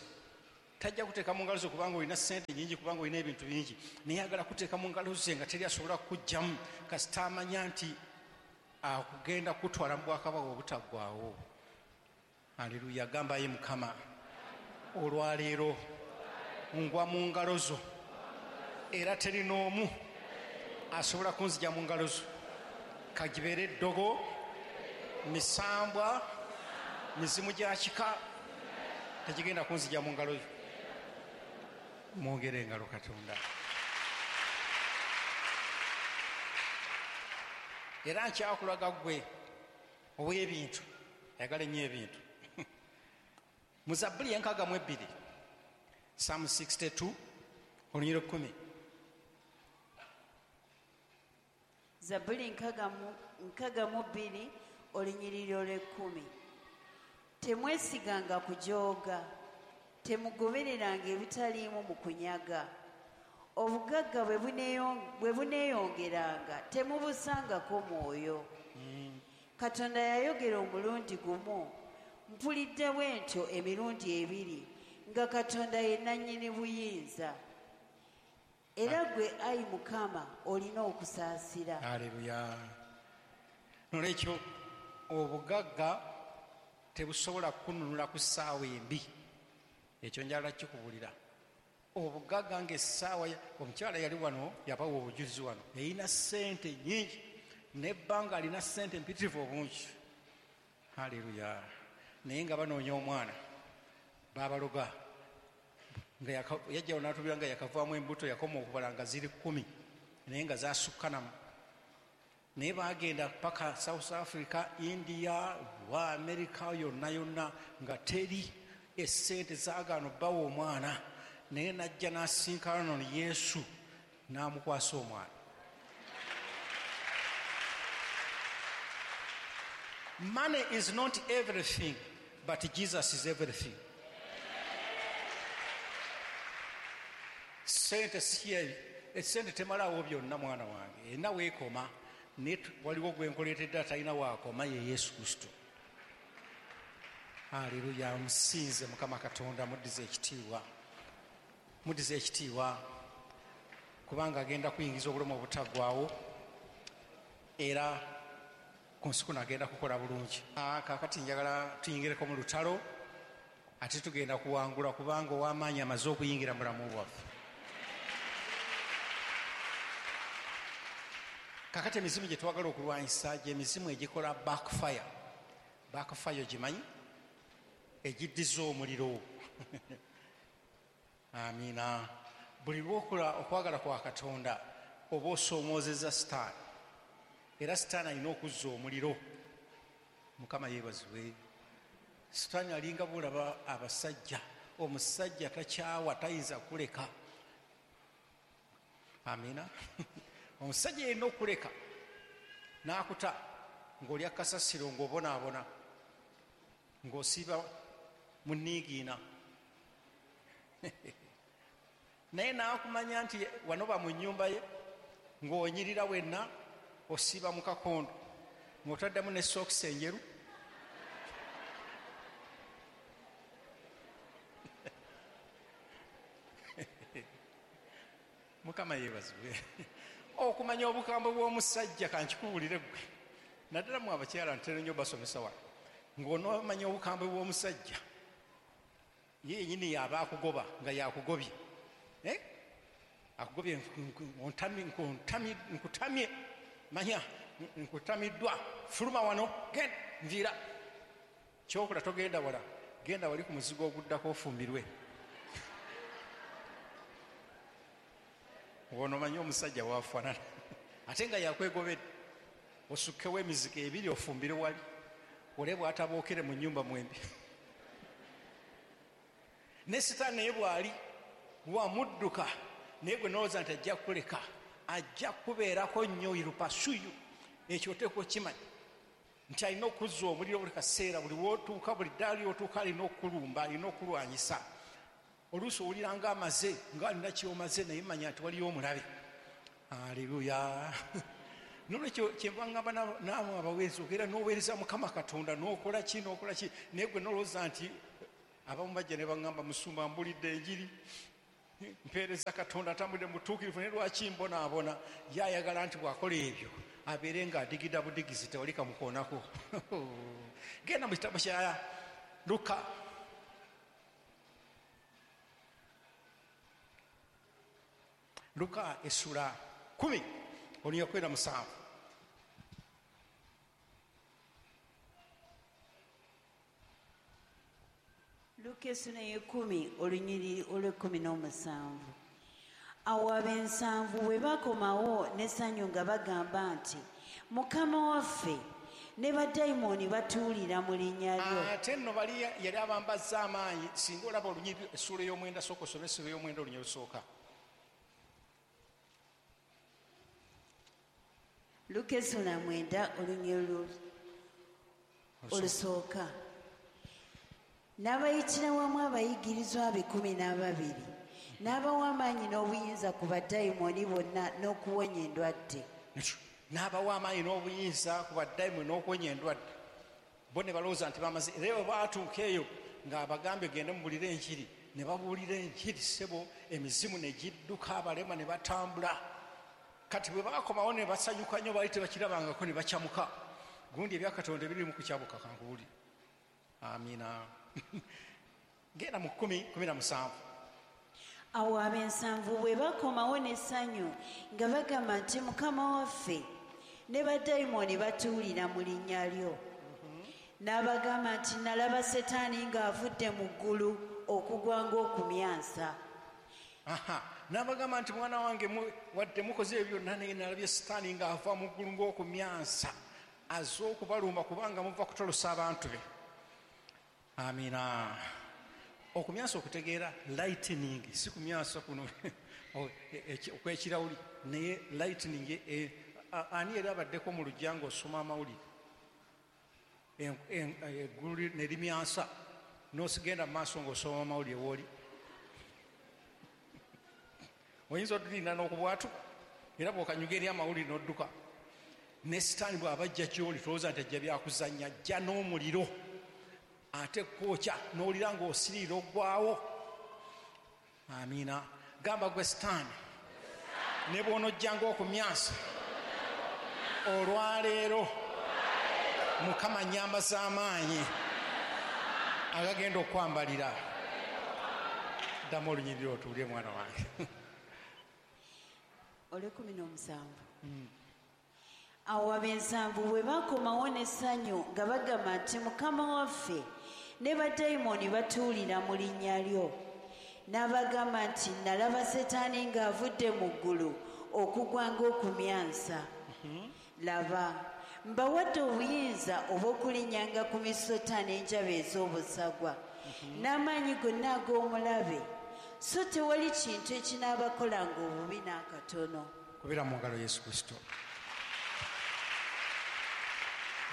[SPEAKER 1] Tajja kuteeka mu ngalo zo kubanga olina ssente nyingi, kubanga olina ebintu bingi, naye ayagala kuteeka mu ngalo ze nga teri asobola kukugjamu, kasita amanya nti akugenda kutwala mu bwakabaka obutaggwaawo. Aleluya. Gamba ye Mukama, olwaleero ngwa mu ngalo zo, era teri n'omu asobola kunzija mu ngalo zo. Kagibeere eddogo, misambwa, mizimu gya kika, tegigenda kunzija mu ngalo zo. Mwongere engalo Katonda. Era nkyakulaga ggwe ow'ebintu, ayagala ennyo ebintu. Mu Zabbuli 62, Psalm 62, olunyiriri 10.
[SPEAKER 2] Zabbuli 62, olunyiriri olw'ekkumi. Temwesiganga kujooga, temugobereranga ebitaliimu mu kunyaga. Obugagga bwe buneeyongeranga, temubusangako mwoyo. Katonda yayogera omulundi gumu, mpulidde bwe ntyo emirundi ebiri, nga Katonda ye nannyini buyinza. Era gwe ayi Mukama olina okusaasira.
[SPEAKER 1] Aleluya. Nolwekyo obugagga tebusobola kununula ku ssaawa embi. Ekyo njagala kikubulira. Obugagga ng'essaawa, omukyala yali wano yabawa obujulizi wano, yalina ssente nnyingi, n'ebbanga alina ssente mpitirivu obungi. Aleluya. Naye nga banoonya omwana, baabaloga. Nga yajjawo n'atubira nga yakavaamu embuto, yakoma okubala nga ziri 10, naye nga zaasukkanamu. Naye baagenda paka South Africa, India, wa America, yonna yonna nga teri essente zaagaana obbawa omwana. Naye n'ajja n'asinkana nono Yesu n'amukwasa omwana. Money is not everything, but Jesus is everything. Sente si esente temalaawo byonna mwana wange, erina weekoma, naye waliwo gwe nkuleetedde atalina waakoma, ye Yesu Kristo. Aleluya. Musinze Mukama Katonda, muddize ekitiibwa, muddize ekitiibwa, kubanga agenda kuyingiza obulamu obutaggwaawo, era ku nsi kuno agenda kukola bulungi. Kaakati njagala tuyingireko mu lutalo, ate tugenda kuwangula, kubanga ow'amaanyi amaze okuyingira mu bulamu bwaffe. Kaakati emizimu gye twagala okulwanyisa gy'emizimu egikola backfire. Backfire ogimanyi? Egiddiza omuliro. Amiina. Buli lw'okola okwagala kwa Katonda oba osoomoozezza Sitaani, era Sitaani alina okuzza omuliro. Mukama yeebazibwe. Sitaani alinga bw'olaba abasajja, omusajja takyawa, tayinza kuleka. Amiina. Omusajja yalina okuleka n'akuta ng'olya kasasiro, ng'obonaabona, ng'osiiba mu nniigiina. Naye n'akumanya nti wanoba mu nnyumba ye, ng'onyirira wenna, osiiba mu kakondo, ng'otaddemu ne sookisi enjeru. Mukama yeebazibwe. Okumanya obukambwe bw'omusajja, kankikubuulire ggwe, naddala mu abakyala ntera nnyo basomesa wano, ng'onoomanya obukambwe bw'omusajja, ye yennyini y'aba akugoba nga yakugobye. Akugobye, nkutamye, manya nkutamiddwa, fuluma wano, genda nviira. Kyokola togenda wala, genda wali ku muzigo oguddako ofumbirwe. Onomanya omusajja waafaanana, ate nga yakwegobedde, osukkewo emizigo ebiri ofumbire wali, ole bw'atabookere mu nnyumba mwembi. Ne Sitaani naye bw'ali wamudduka, naye gwe nolowooza nti ajja kukuleka, ajja kubeerako nnyo, irupasuyu. Ekyo oteekwa okimanya nti alina okuzza omuliro buli kaseera, buli w'otuuka, buli ddaala ly'otuuka alina okukulumba, alina okulwanyisa. Oluusi owulira ng'amaze, ng'alina ky'omaze, naye manya nti waliyo omulabe. Aleluya. Nolwekyo kyenva ngamba naamwe abaweereza, ogenda n'oweereza Mukama Katonda, n'okola ki, n'okola ki, naye gwe nolowooza nti Abamu bajja ne baŋŋamba, musumba mbulidde enjiri, mpeereza Katonda, ntambudde mutuukirivu, naye lwaki mbonaabona? Ye ayagala nti bw'akola ebyo abeere ng'adigida budigizi, tewali kamukoonako. Genda mu kitabo kya Luka. Luka essula 10 olunyiriri 17.
[SPEAKER 2] Luka essula 10 olunyiriri olw'17. Awo ab'ensanvu bwe bakomawo n'essanyu nga bagamba nti, Mukama waffe, ne badayimooni batuwulira mu linnya lyo.
[SPEAKER 1] Ate nno bali yali abambazza amaanyi. Singa olaba olunyiriri essuula ey'omwenda, sooka osome essuula ey'omwenda olunyiriri olusooka.
[SPEAKER 2] Luka essula 9 olunyiriri olusooka. N'abayitira wamu abayigirizwa be 12, n'abawa amaanyi n'obuyinza ku badayimooni bonna n'okuwonya endwadde.
[SPEAKER 1] N'abawa amaanyi n'obuyinza ku badayimooni n'okuwonya endwadde. Bo ne balowooza nti bamaze. Era bwe baatuuka eyo ng'abagambye gende mubulire enjiri, ne babuulira enjiri ssebo, emizimu ne gidduka, abalema ne batambula. Kati bwe baakomawo ne basanyuka nnyo, baali tebakirabangako ne bakyamuka. Gundi ebya Katonda ebiri mu kukyabuka, kankubuulire. Amiina. Genda mu 10:17.
[SPEAKER 2] Awo ab'ensanvu bwe bakomawo n'essanyu nga bagamba nti, Mukama waffe, ne badayimooni batuwulira mu linnya lyo. N'abagamba nti, nalaba Setaani ng'avudde mu ggulu okugwa ng'okumyansa.
[SPEAKER 1] N'abagamba nti, mwana wange, wadde mukoze ebyo byonna, naye nalabye Setaani ng'ava mu ggulu ng'okumyansa, azze okubalumba kubanga muva kutolosa abantu be. Amiina. Okumyansa okutegeera lightning, si kumyansa kuno okw'ekirawuli, naye lightning. Ani era abaddeko mu luggya ng'osoma amawulire, eggulu ne limyansa, n'osigenda mu maaso ng'osoma amawulire w'oli? Oyinza otulinda n'okubwatuka, era bw'okanyuga eri amawulire n'odduka. Ne Sitaani bw'aba ajja gy'oli, tolowooza nti ajja byakuzannya, ajja n'omuliro ate kwokya, n'owulira ng'osiriira oggwawo. Amiina. Gamba gwe Sitaani, ne bw'onojjanga okumyansa olwaleero, Mukama nnyambaza amaanyi agagenda okwambalira. Ddamu olunyiriri otuulye mwana wange.
[SPEAKER 2] Olw'17. Awo ab'ensanvu bwe bakomawo n'essanyu nga bagamba nti, Mukama waffe, ne badayimooni batuwulira mu linnya lyo. N'abagamba nti, nalaba Setaani ng'avudde mu ggulu okugwa ng'okumyansa. Laba, mbawadde obuyinza obw'okulinnyanga ku misota n'enjaba ez'obusagwa, n'amaanyi gonna ag'omulabe, so tewali kintu ekinaabakolanga obubi n'akatono.
[SPEAKER 1] Kubira mu ngalo Yesu Kristo.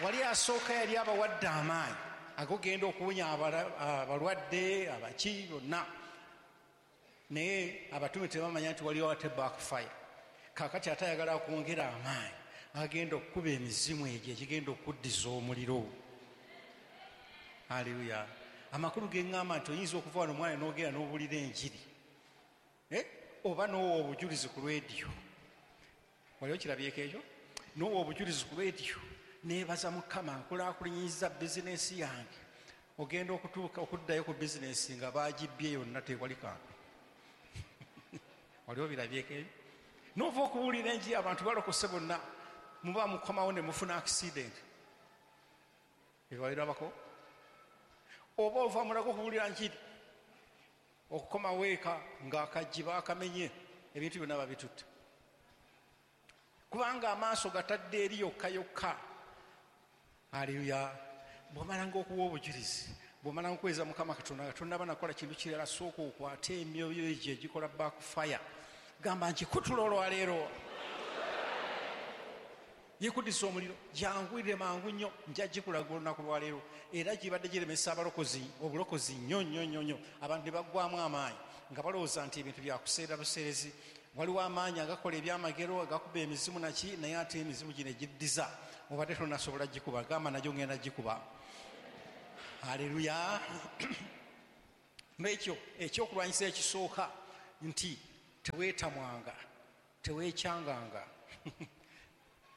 [SPEAKER 1] Wali asooka yali abawadde amaanyi agogenda okuwonya abalwadde, abaki bonna, naye abatume tebamanya nti waliwo ate backfire. Kaakati ate ayagala kwongera amaanyi agenda okukuba emizimu egyo egigenda okuddiza omuliro. Haleluya. Amakulu ge ŋŋamba nti oyinza okuva wano mwana n'ogenda n'obuulira enjiri, oba n'owa obujulizi ku lwediyo. Wali okirabyeko ekyo? N'owa obujulizi ku lwediyo, neebaza Mukama nkulaakulanyiza bizinensi yange. Ogenda okutuuka okuddayo ku bizinensi nga baagibbye yonna, tewali kantu. Wali obirabyeko ebyo? N'ova okubuulira enjiri, abantu balokose bonna, muba mukomawo ne mufuna accident. Ebyo wabirabako? Oba ova mulago okubuulira njiri, okukomawo eka ng'akaggi baakamenye, ebintu byonna babitutte, kubanga amaaso gatadde eri yokka yokka. Haleluya. Bw'omalanga okuwa obujulizi, bw'omalanga okuweereza Mukama Katonda nga tonnaba nakola kintu kirala, sooka okwate emyoyo egyo egikola backfire. Gamba nti kutula olwaleero, yekuddisa omuliro, jangwire mangu nnyo, nja gikulaga olunaku lwaleero. Era gibadde giremesa abalokozi obulokozi nnyo nnyo nnyo nnyo. Abantu ne baggwamu amaanyi nga balowooza nti ebintu byakuseera buseerezi. Waliwo amaanyi agakola ebyamagero, agakuba emizimu naki, naye ate emizimu gino egiddiza obadde tonasobola gikuba. Gamba nagyo ngenda gikuba. Haleluya. N'ekyo ekyokulwanyisa ekisooka nti teweetamwanga, teweekyanganga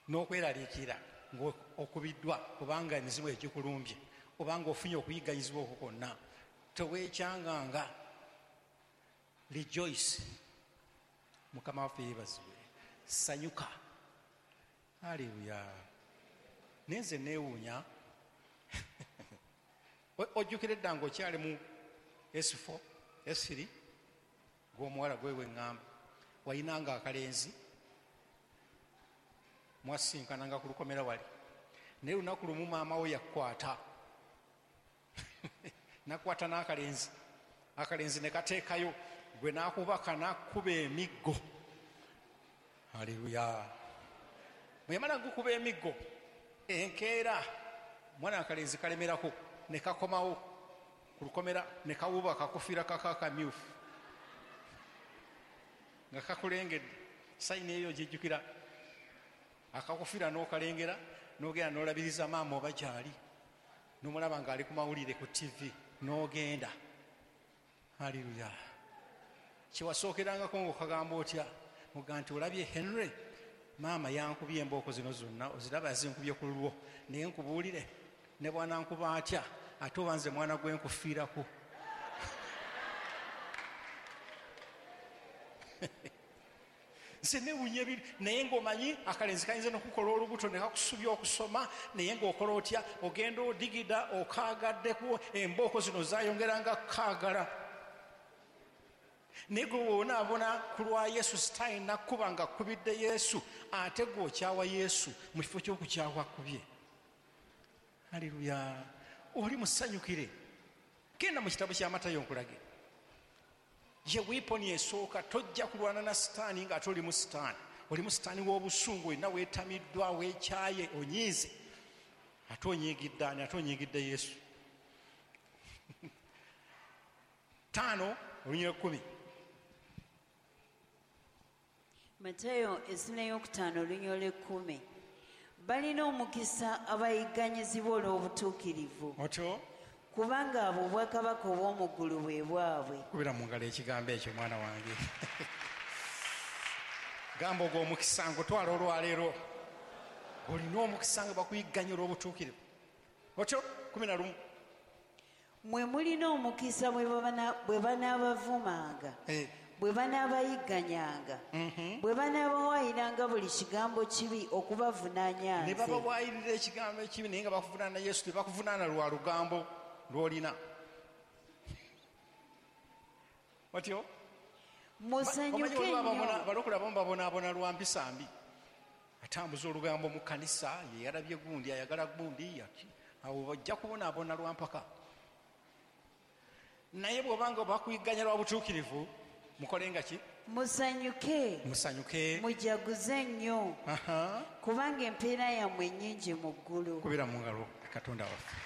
[SPEAKER 1] n'okweraliikirira ng'okubiddwa kubanga emizimu egikulumbye obanga ofunye okuyigganyizibwa okwo kwonna. Teweekyanganga. Rejoice. Mukama waffe yeebazibwe. Sanyuka. Haleluya. Naye nze neewuunya. Ojjukira edda ng'okyali mu S4, S3, gw'omuwala gwe weŋŋamba, walinanga akalenzi mwasinkananga ku lukomera wali, naye lunaku lumu maama we yakukwata nakwata n'akalenzi, akalenzi ne kateekayo gwe n'akubaka n'akuba emiggo. Haleluya. Bwe yamala gukuba emiggo, enkeera mwana akalenzi kalemerako ne kakomawo ku lukomera ne kawuba akakufiira kaka akamyufu nga kakulengedde. Sayini eyo gijjukira, akakufiira n'okalengera n'ogenda n'olabiriza maama oba gy'ali, n'omulaba ng'ali ku mawulire ku TV n'ogenda. Haleluya. Kyewasookerangako ng'okagamba otya? Muga nti olabye Henry, maama yankubye embooko zino zonna, oziraba yazinkubye ku lulwo, naye nkubuulire ne bw'anankuba atya ate oba nze mwana gwe nkufiirako. Nze newuunya ebiri, naye ng'omanyi akalenzi kayinza n'okukola olubuto ne kakusubya okusoma, naye ng'okola otya? Ogenda odigida okaagaddeko, embooko zino zaayongeranga kukaagala. Naye gwe bw'onaabona ku lwa Yesu, sitaani nakkuba nga akkubidde Yesu, ate gwe okyawa Yesu mu kifo ky'okukyawa akkubye. Haleluya. Oli musanyukire. Genda mu kitabo kya Matayo nkulage. Ye weapon esooka, tojja kulwana na sitaani ng'ate oli mu sitaani. Oli mu sitaani w'obusungu, olina weetamiddwa, weekyaye, onyiize. Ate onyiigidde ani? Ate onyiigidde Yesu. 5 olunyiriri 10.
[SPEAKER 2] Matayo essula ey'okutaano olunyiriri 10. Balina omukisa abayigganyizibwa olw'obutuukirivu.
[SPEAKER 1] Otyo?
[SPEAKER 2] Kubanga abo obwakabaka obw'omu ggulu bwe bwabwe.
[SPEAKER 1] Kubira mu ngalo ekigambo ekyo mwana wange. Gamba ogwo omukisa ngutwala olwaleero. Olina omukisa nga bakuyigganya olw'obutuukirivu. Otyo? 11.
[SPEAKER 2] Mwe mulina omukisa bwe banaabavumanga, bwe banaabayigganyanga, bwe banaabawaayiranga buli kigambo kibi okubavunaanya nze.
[SPEAKER 1] Ne babawaayirira ekigambo ekibi naye nga bakuvunaana Yesu, tebakuvunaana lwa lugambo lw'olina. Otyo?
[SPEAKER 2] Musanyuke nnyo.
[SPEAKER 1] Balokole abamu babonaabona lwa mpisa mbi. Atambuza olugambo mu kkanisa, ye yalabye gundi, ayagala gundi, awo bajja kubonaabona lwa mpaka. Naye bw'obanga bakuyigganya lwa butuukirivu, mukolenga ki?
[SPEAKER 2] Musanyuke.
[SPEAKER 1] Musanyuke.
[SPEAKER 2] Mujaguze nnyo. Kubanga empeera yammwe nnyingi mu ggulu.
[SPEAKER 1] Kubira mu ngalo Katonda waffe.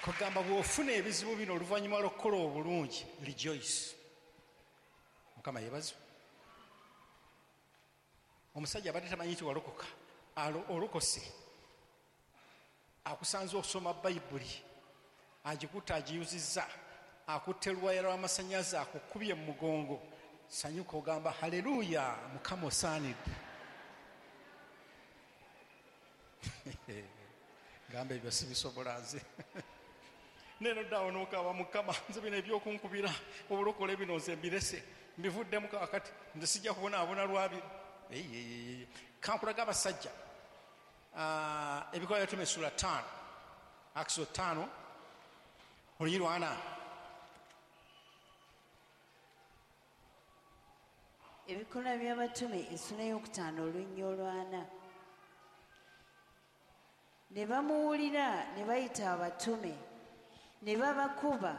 [SPEAKER 1] Kugamba bw'ofuna ebizibu bino oluvannyuma lw'okukola obulungi, rejoice. Mukama yeebazibwe. Omusajja abadde tamanyi nti walokoka, olokose, akusanze okusoma Bayibuli, agikutte agiyuzizza, akutte luwaya lw'amasannyalaze akukubye mu mugongo. Sanyuka ogamba haleluya, Mukama osaanidde. Gamba ebyo sibisobola nze. Neno ddawo n'okaba Mukama, nze bino ebyokunkubira obulokole bino nze mbirese, mbivuddemu kaakati, nze sijja kubonaabona lwabi. Kankulaga abasajja. Ebikolwa by'Abatume essula 5, Acts 5, olunyiriri 4.
[SPEAKER 2] Ebikolwa by'Abatume essula ey'okutaano olunyiriri 4. Ne bamuwulira ne bayita abatume, ne babakuba,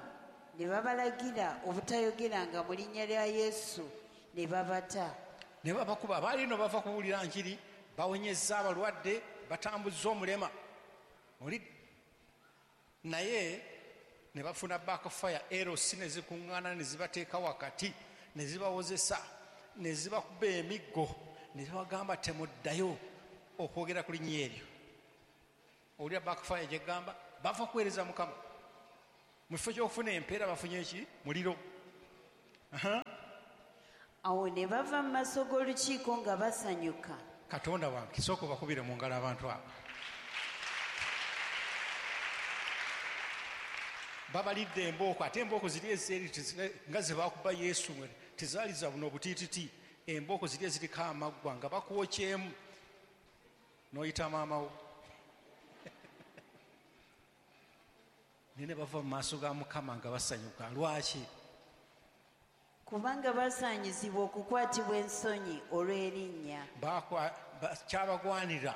[SPEAKER 2] ne babalagira obutayogeranga mu linnya lya Yesu, ne babata.
[SPEAKER 1] Ne babakuba. Baali nno bava kuwulira njiri, bawonyezza abalwadde, batambuzza omulema. Oli naye ne bafuna backfire, erosi ne zikuŋŋaana ne zibateeka wakati, ne zibawozesa, ne zibakuba emiggo, ne zibagamba temuddayo okwogera ku linnya eryo. Owulira backfire gyegamba, bava kuweereza Mukama. Mu kifo ky'okufuna empeera bafunye ki? Muliro.
[SPEAKER 2] Awo ne bava mu maaso g'olukiiko nga basanyuka.
[SPEAKER 1] Katonda wange, sooka obakubire mu ngalo abantu abo. Babalidde embooko, ate embooko ziri ezeeri nga ze baakuba Yesu tezaali za buno obutiititi. Embooko ziri eziriko amaggwa nga bakwokyemu n'oyita maama wo. Naye ne bava mu maaso ga Mukama nga basanyuka. Lwaki?
[SPEAKER 2] Kubanga basaanyizibwa okukwatibwa ensonyi olw'erinnya.
[SPEAKER 1] Kyabagwanira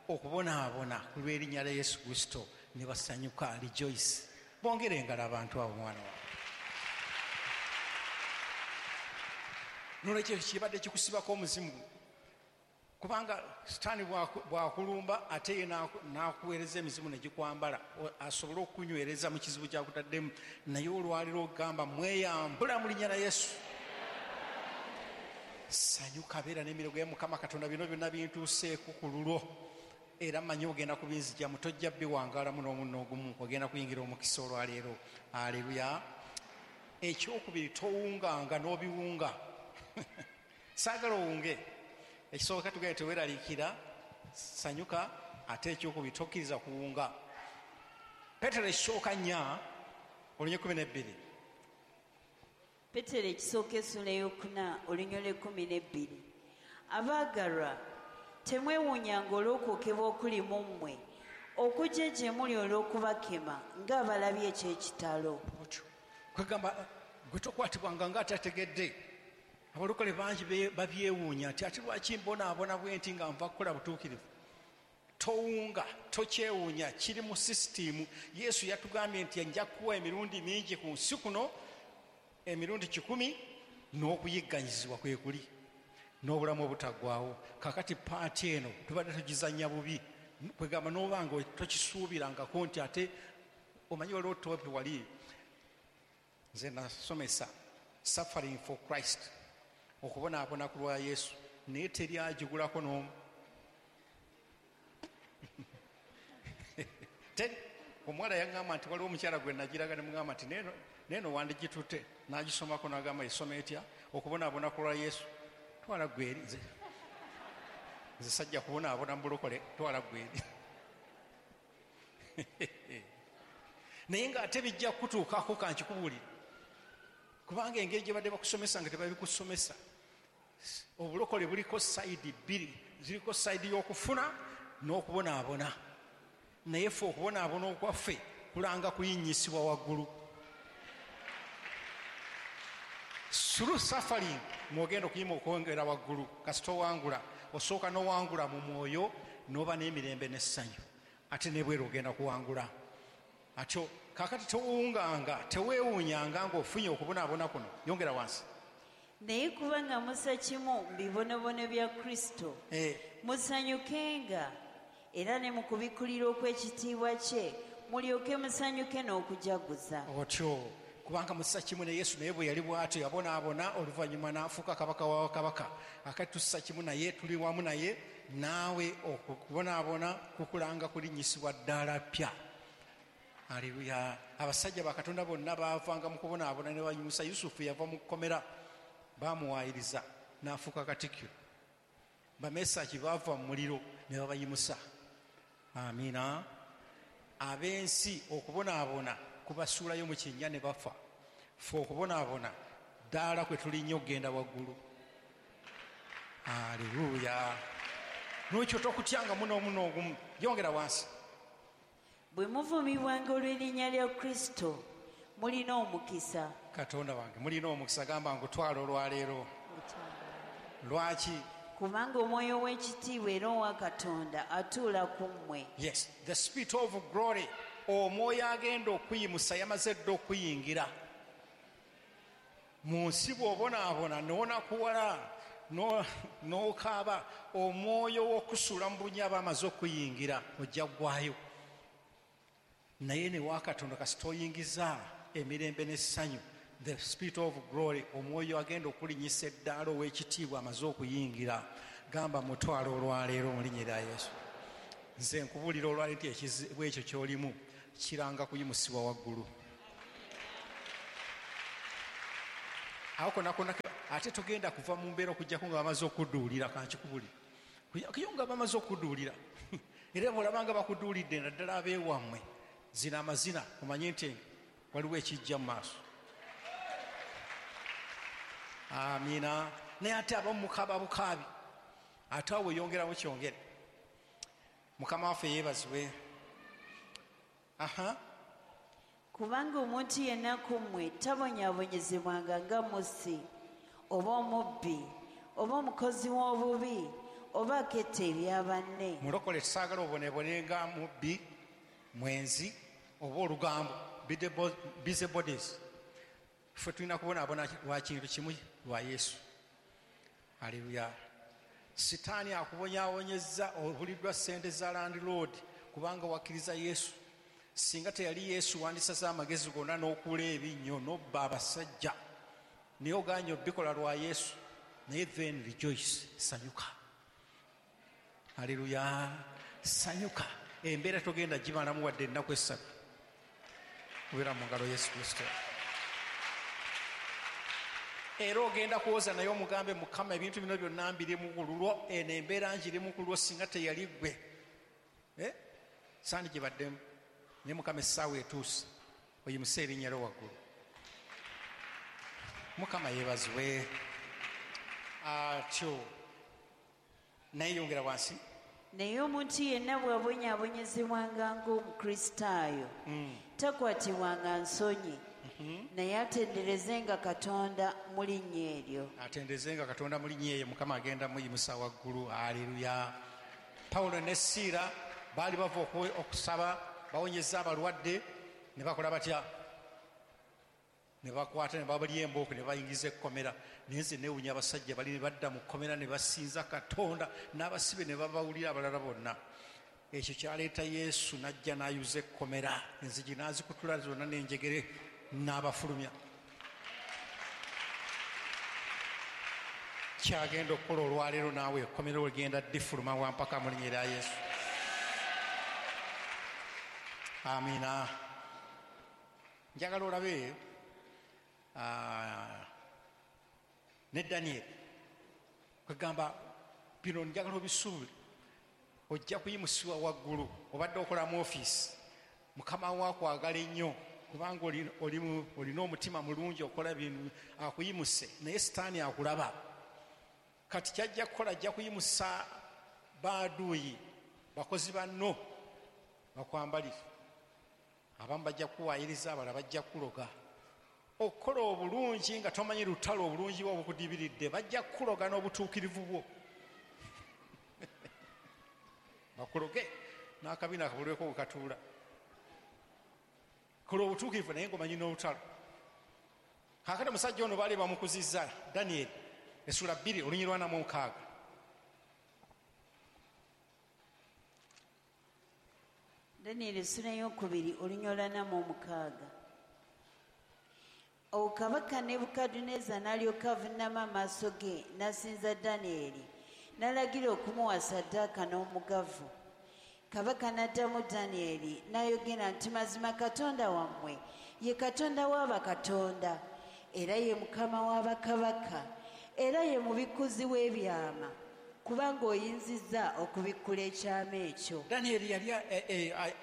[SPEAKER 1] okubonaabona ku lw'erinnya lya Yesu Kristo ne basanyuka. Rejoice. Bongere engalo abantu abo, mwana wange. Nolwekyo kibadde kikusibako omuzimu, kubanga Sitaani bw'akulumba ate ye n'akuweereza emizimu ne gikwambala asobole okukunywereza mu kizibu ky'akutaddemu. Naye olwaliro ogamba mweyambula mu linnya lya Yesu. Sanyuka, beera n'emirego ya Mukama Katonda, bino byonna bintuuseeko ku lulwo, era mmanyi ogenda kubinzigyamu, tojja biwangaalamu n'omunno ogumu, ogenda kuyingira omukisa olwaleero. Aleluya. Ekyokubiri, towunganga n'obiwunga. Saagala owunge. Ekisooka tugende teweeraliikira, sanyuka. Ate ekyokubiri, tokkiriza kuwunga. Peetero ekisooka 4:12.
[SPEAKER 2] Peetero ekisooka essula ey'okuna olunyiriri lw'ekkumi n'ebbiri. Abaagalwa, temwewuunyanga olw'okwokebwa okuli mu mmwe okujja gye muli olw'okubakema ng'abalabye eky'ekitalo.
[SPEAKER 1] Otyo kwegamba gwe tokwatibwanga ng'atategedde. Abalokole bangi babyewuunya nti ate lwaki mbonaabona bwe nti nga nva kukola butuukirivu. Towunga, tokyewuunya, kiri mu sisitiimu. Yesu yatugambye nti nja kuwa emirundi mingi ku nsi kuno, emirundi 100, n'okuyigganyizibwa kwe kuli n'obulamu obutaggwaawo. Kaakati part eno tubadde tugizannya bubi, kwegamba n'obanga tokisuubirangako nti ate omanyi waliwo topic wali nze nasomesa suffering for Christ, okubonaabona ku lwa Yesu, naye teri agigulako n'omu. Teri. Omuwala yaŋŋamba nti waliwo omukyala gwe nagiraga ne mugamba nti neeno wandigitutte, n'agisomako n'agamba esoma etya okubonaabona ku lwa Yesu. Twala ggwe eri, nze sajja kubonaabona mu bulokole, twala ggwe eri. Naye ng'ate bijja kukutuukako, kankikubuulire, kubanga engeri gye badde bakusomesa nga tebabikusomesa. Obulokole buliko side bbiri, ziriko side y'okufuna n'okubonaabona. Naye ffe okubonaabona okwaffe kulanga kuyinyisibwa waggulu. Through suffering mwogenda okuyima okwongera waggulu. Kasita owangula, osooka n'owangula mu mwoyo n'oba n'emirembe n'essanyu, ate nebweru ogenda kuwangula. Atyo kaakati tewunganga, teweewuunyanga ng'ofunye okubonaabona kuno. Yongera wansi.
[SPEAKER 2] Naye kubanga mussa kimu mu bibonobono bya Kristo, musanyukenga era ne mu kubikkulirwa okw'ekitiibwa kye mulyoke musanyuke n'okujaguza.
[SPEAKER 1] Otyo, kubanga mussa kimu ne Yesu, naye bwe yali bw'atyo yabonaabona, oluvannyuma n'afuuka kabaka wa kabaka. Akati tussa kimu naye, tuli wamu naye. Naawe okubonaabona kukulanga kulinnyisibwa ddaala ppya. Aleluya. Abasajja ba Katonda bonna baavanga mu kubonaabona ne banyusa. Yusufu yava mu kkomera, bamuwaayiriza n'afuuka katikkiro. Bamesaki baava mu muliro ne babayimusa. Amiina. Ab'ensi okubonaabona kubasuulayo mu kinnya ne bafa. Ffe okubonaabona ddaala kwe tulinnya okugenda waggulu. Aleluya. N'ekyo tokutyangamu n'omuno ogumu. Yongera wansi.
[SPEAKER 2] Bwe muvumibwanga olw'erinnya lya Kristo, mulina omukisa.
[SPEAKER 1] Katonda wange, mulina omukisa. Gamba ngutwala olwaleero. Lwaki?
[SPEAKER 2] Kubanga omwoyo w'ekitiibwa era owa Katonda atuula ku mmwe.
[SPEAKER 1] Yes, the spirit of glory, omwoyo agenda okuyimusa yamaze dda okuyingira mu nsi. Bw'obonaabona n'onakuwala n'okaaba, omwoyo w'okusuula mu bunnya aba amaze okuyingira, ojja ggwayo. Naye ne wa Katonda kasita oyingiza emirembe n'essanyu, the spirit of glory, omwoyo agenda okulinyisa eddaala ow'ekitiibwa amaze okuyingira. Gamba mutwalo olwaleero mu linnya lya Yesu. Nze nkubuulira olwaleero nti ekizibu ekyo ky'olimu kiranga kuyimusibwa waggulu. Awo konna konna ate togenda kuva mu mbeera okuggyako nga bamaze okudduulira. Kankikubulire, kuyo nga bamaze okudduulira. Era bw'olaba nga bakuduulidde, naddala abeewammwe, zina amazina omanye nti waliwo ekijja mu maaso. Amiina. Naye ate abamu mukaaba bukaabi, ate awo weyongeramu kyongere. Mukama waffe yeebazibwe. Aha.
[SPEAKER 2] Kubanga omuntu yenna ku mmwe tabonyaabonyezebwanga nga mussi, oba omubbi, oba omukozi w'obubi, oba aketta ebya banne.
[SPEAKER 1] Mulokole tusaagala obonebone nga mubbi, mwenzi, oba olugambo, busy bodies. Ffe tulina kubonaabona lwa kintu kimu, lwa Yesu. Aleluya. Sitaani akubonyaabonyezza, obuliddwa ssente za landlord kubanga wakkiriza Yesu. Singa teyali Yesu, wandisaze amagezi gonna n'okuula ebinnyo n'obba abasajja, naye ogaanye obikola lwa Yesu. Naye then rejoice, sanyuka. Aleluya, sanyuka. Embeera togenda gimalamu wadde ennaku 3, kubeera mu ngalo Yesu Kristo. Era ogenda kuwoza naye omugambe, Mukama, ebintu bino byonna mbirimu ku lulwo, eno embeera ngirimu ku lulwo, singa teyali ggwe sandi gyebaddemu. Naye Mukama, essaawa etuuse oyimuse erinnya lyo waggulu. Mukama yeebazibwe. Atyo naye yongera wansi.
[SPEAKER 2] Naye omuntu yenna bw'abonyaabonyezebwanga ng'Omukristaayo, takwatibwanga nsonyi, naye atenderezenga Katonda mu linnya eryo.
[SPEAKER 1] Atenderezenga Katonda mu linnya eryo. Mukama agenda muyimusa waggulu. Aleluya. Pawulo ne Siira baali bava okusaba, bawonyeza abalwadde, ne bakola batya? Ne bakwata ne babalya embooko ne bayingiza ekkomera. Naye nze neewunya abasajja bali ne badda mu kkomera ne basinza Katonda, n'abasibe ne babawulira abalala bonna. Ekyo kyaleeta Yesu n'ajja n'ayuza ekkomera, enzigi n'azikutula zonna n'enjegere n'abafulumya. Kyagenda okukola olwaleero naawe ekkomera ogenda ddifuluma wampaka mu linnya lya Yesu. Amiina. Njagala olabe ne Daniel. Kwegamba bino njagala obisuubire, ojja kuyimusibwa waggulu. Obadde okola mu ofiisi, Mukama wo akwagala ennyo kubanga olina omutima mulungi, okola bintu, akuyimuse. Naye Sitaani akulaba. Kati kyajja kukola, ajja kuyimusa baaduuyi, bakozi banno bakwambalire. Abamu bajja kuwaayiriza, abalala bajja kukuloga. Okukola obulungi nga tomanyi lutalo obulungi bwo obukudibiridde, bajja kukuloga n'obutuukirivu bwo. Bakuloge n'akabina akabulweko bwe katuula. Kola obutuukirivu naye ng'omanyi n'olutalo. Kaakati omusajja ono baali bamukuzizza, Daniel essula 2 olunyiriri 46.
[SPEAKER 2] Daniel essula 2 olunyiriri 46. Awo kabaka Nebukadduneeza n'alyoka avuunama amaaso ge n'asinza Danyeri, n'alagira okumuwa ssaddaaka n'omugavu. Kabaka n'addamu Danyeri n'ayogera nti, mazima Katonda wammwe ye Katonda w'abakatonda, era ye Mukama w'abakabaka, era ye mubikkuzi w'ebyama, kubanga oyinzizza okubikkula ekyama ekyo.
[SPEAKER 1] Danyeri yali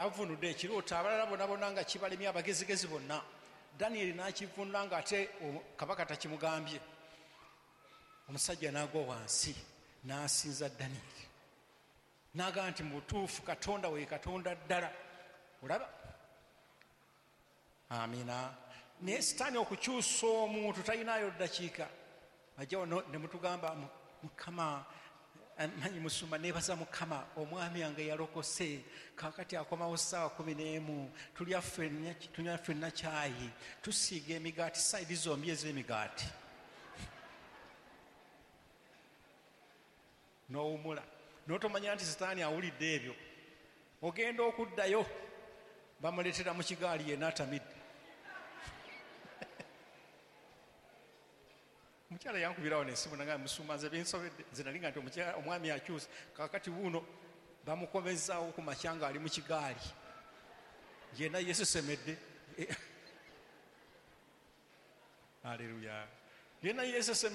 [SPEAKER 1] avunudde ekirooto, abalala bonna bonna nga kibalemye, abagezigezi bonna. Danyeri n'akivunula ng'ate kabaka takimugambye. Omusajja n'agwa wansi n'asinza Danyeri, n'agamba nti mu butuufu Katonda we Katonda ddala. Olaba? Amiina. Naye Sitaani okukyusa omuntu talinayo ddakiika. Ajja wano ne mutugamba, Mukama manyi musumba, neebaza Mukama, omwami wange yalokose, kaakati akomawo ssaawa 11, tulya ffenna kyayi, tusiiga emigaati, sayidi zombi ez'emigaati. N'owumula n'otomanya nti Sitaani awulidde ebyo. Ogenda okuddayo bamuleetera mu kigaali yenna atamidde. Omukyala yankubirawo n'essimu n'agamba, musumba nze binsobedde, nze nali nga nti omwami akyuse, kaakati wuuno bamukomezaawo ku makya ng'ali mu kigaali yenna yeesesemedde. Aleluya. Byonna yeesese.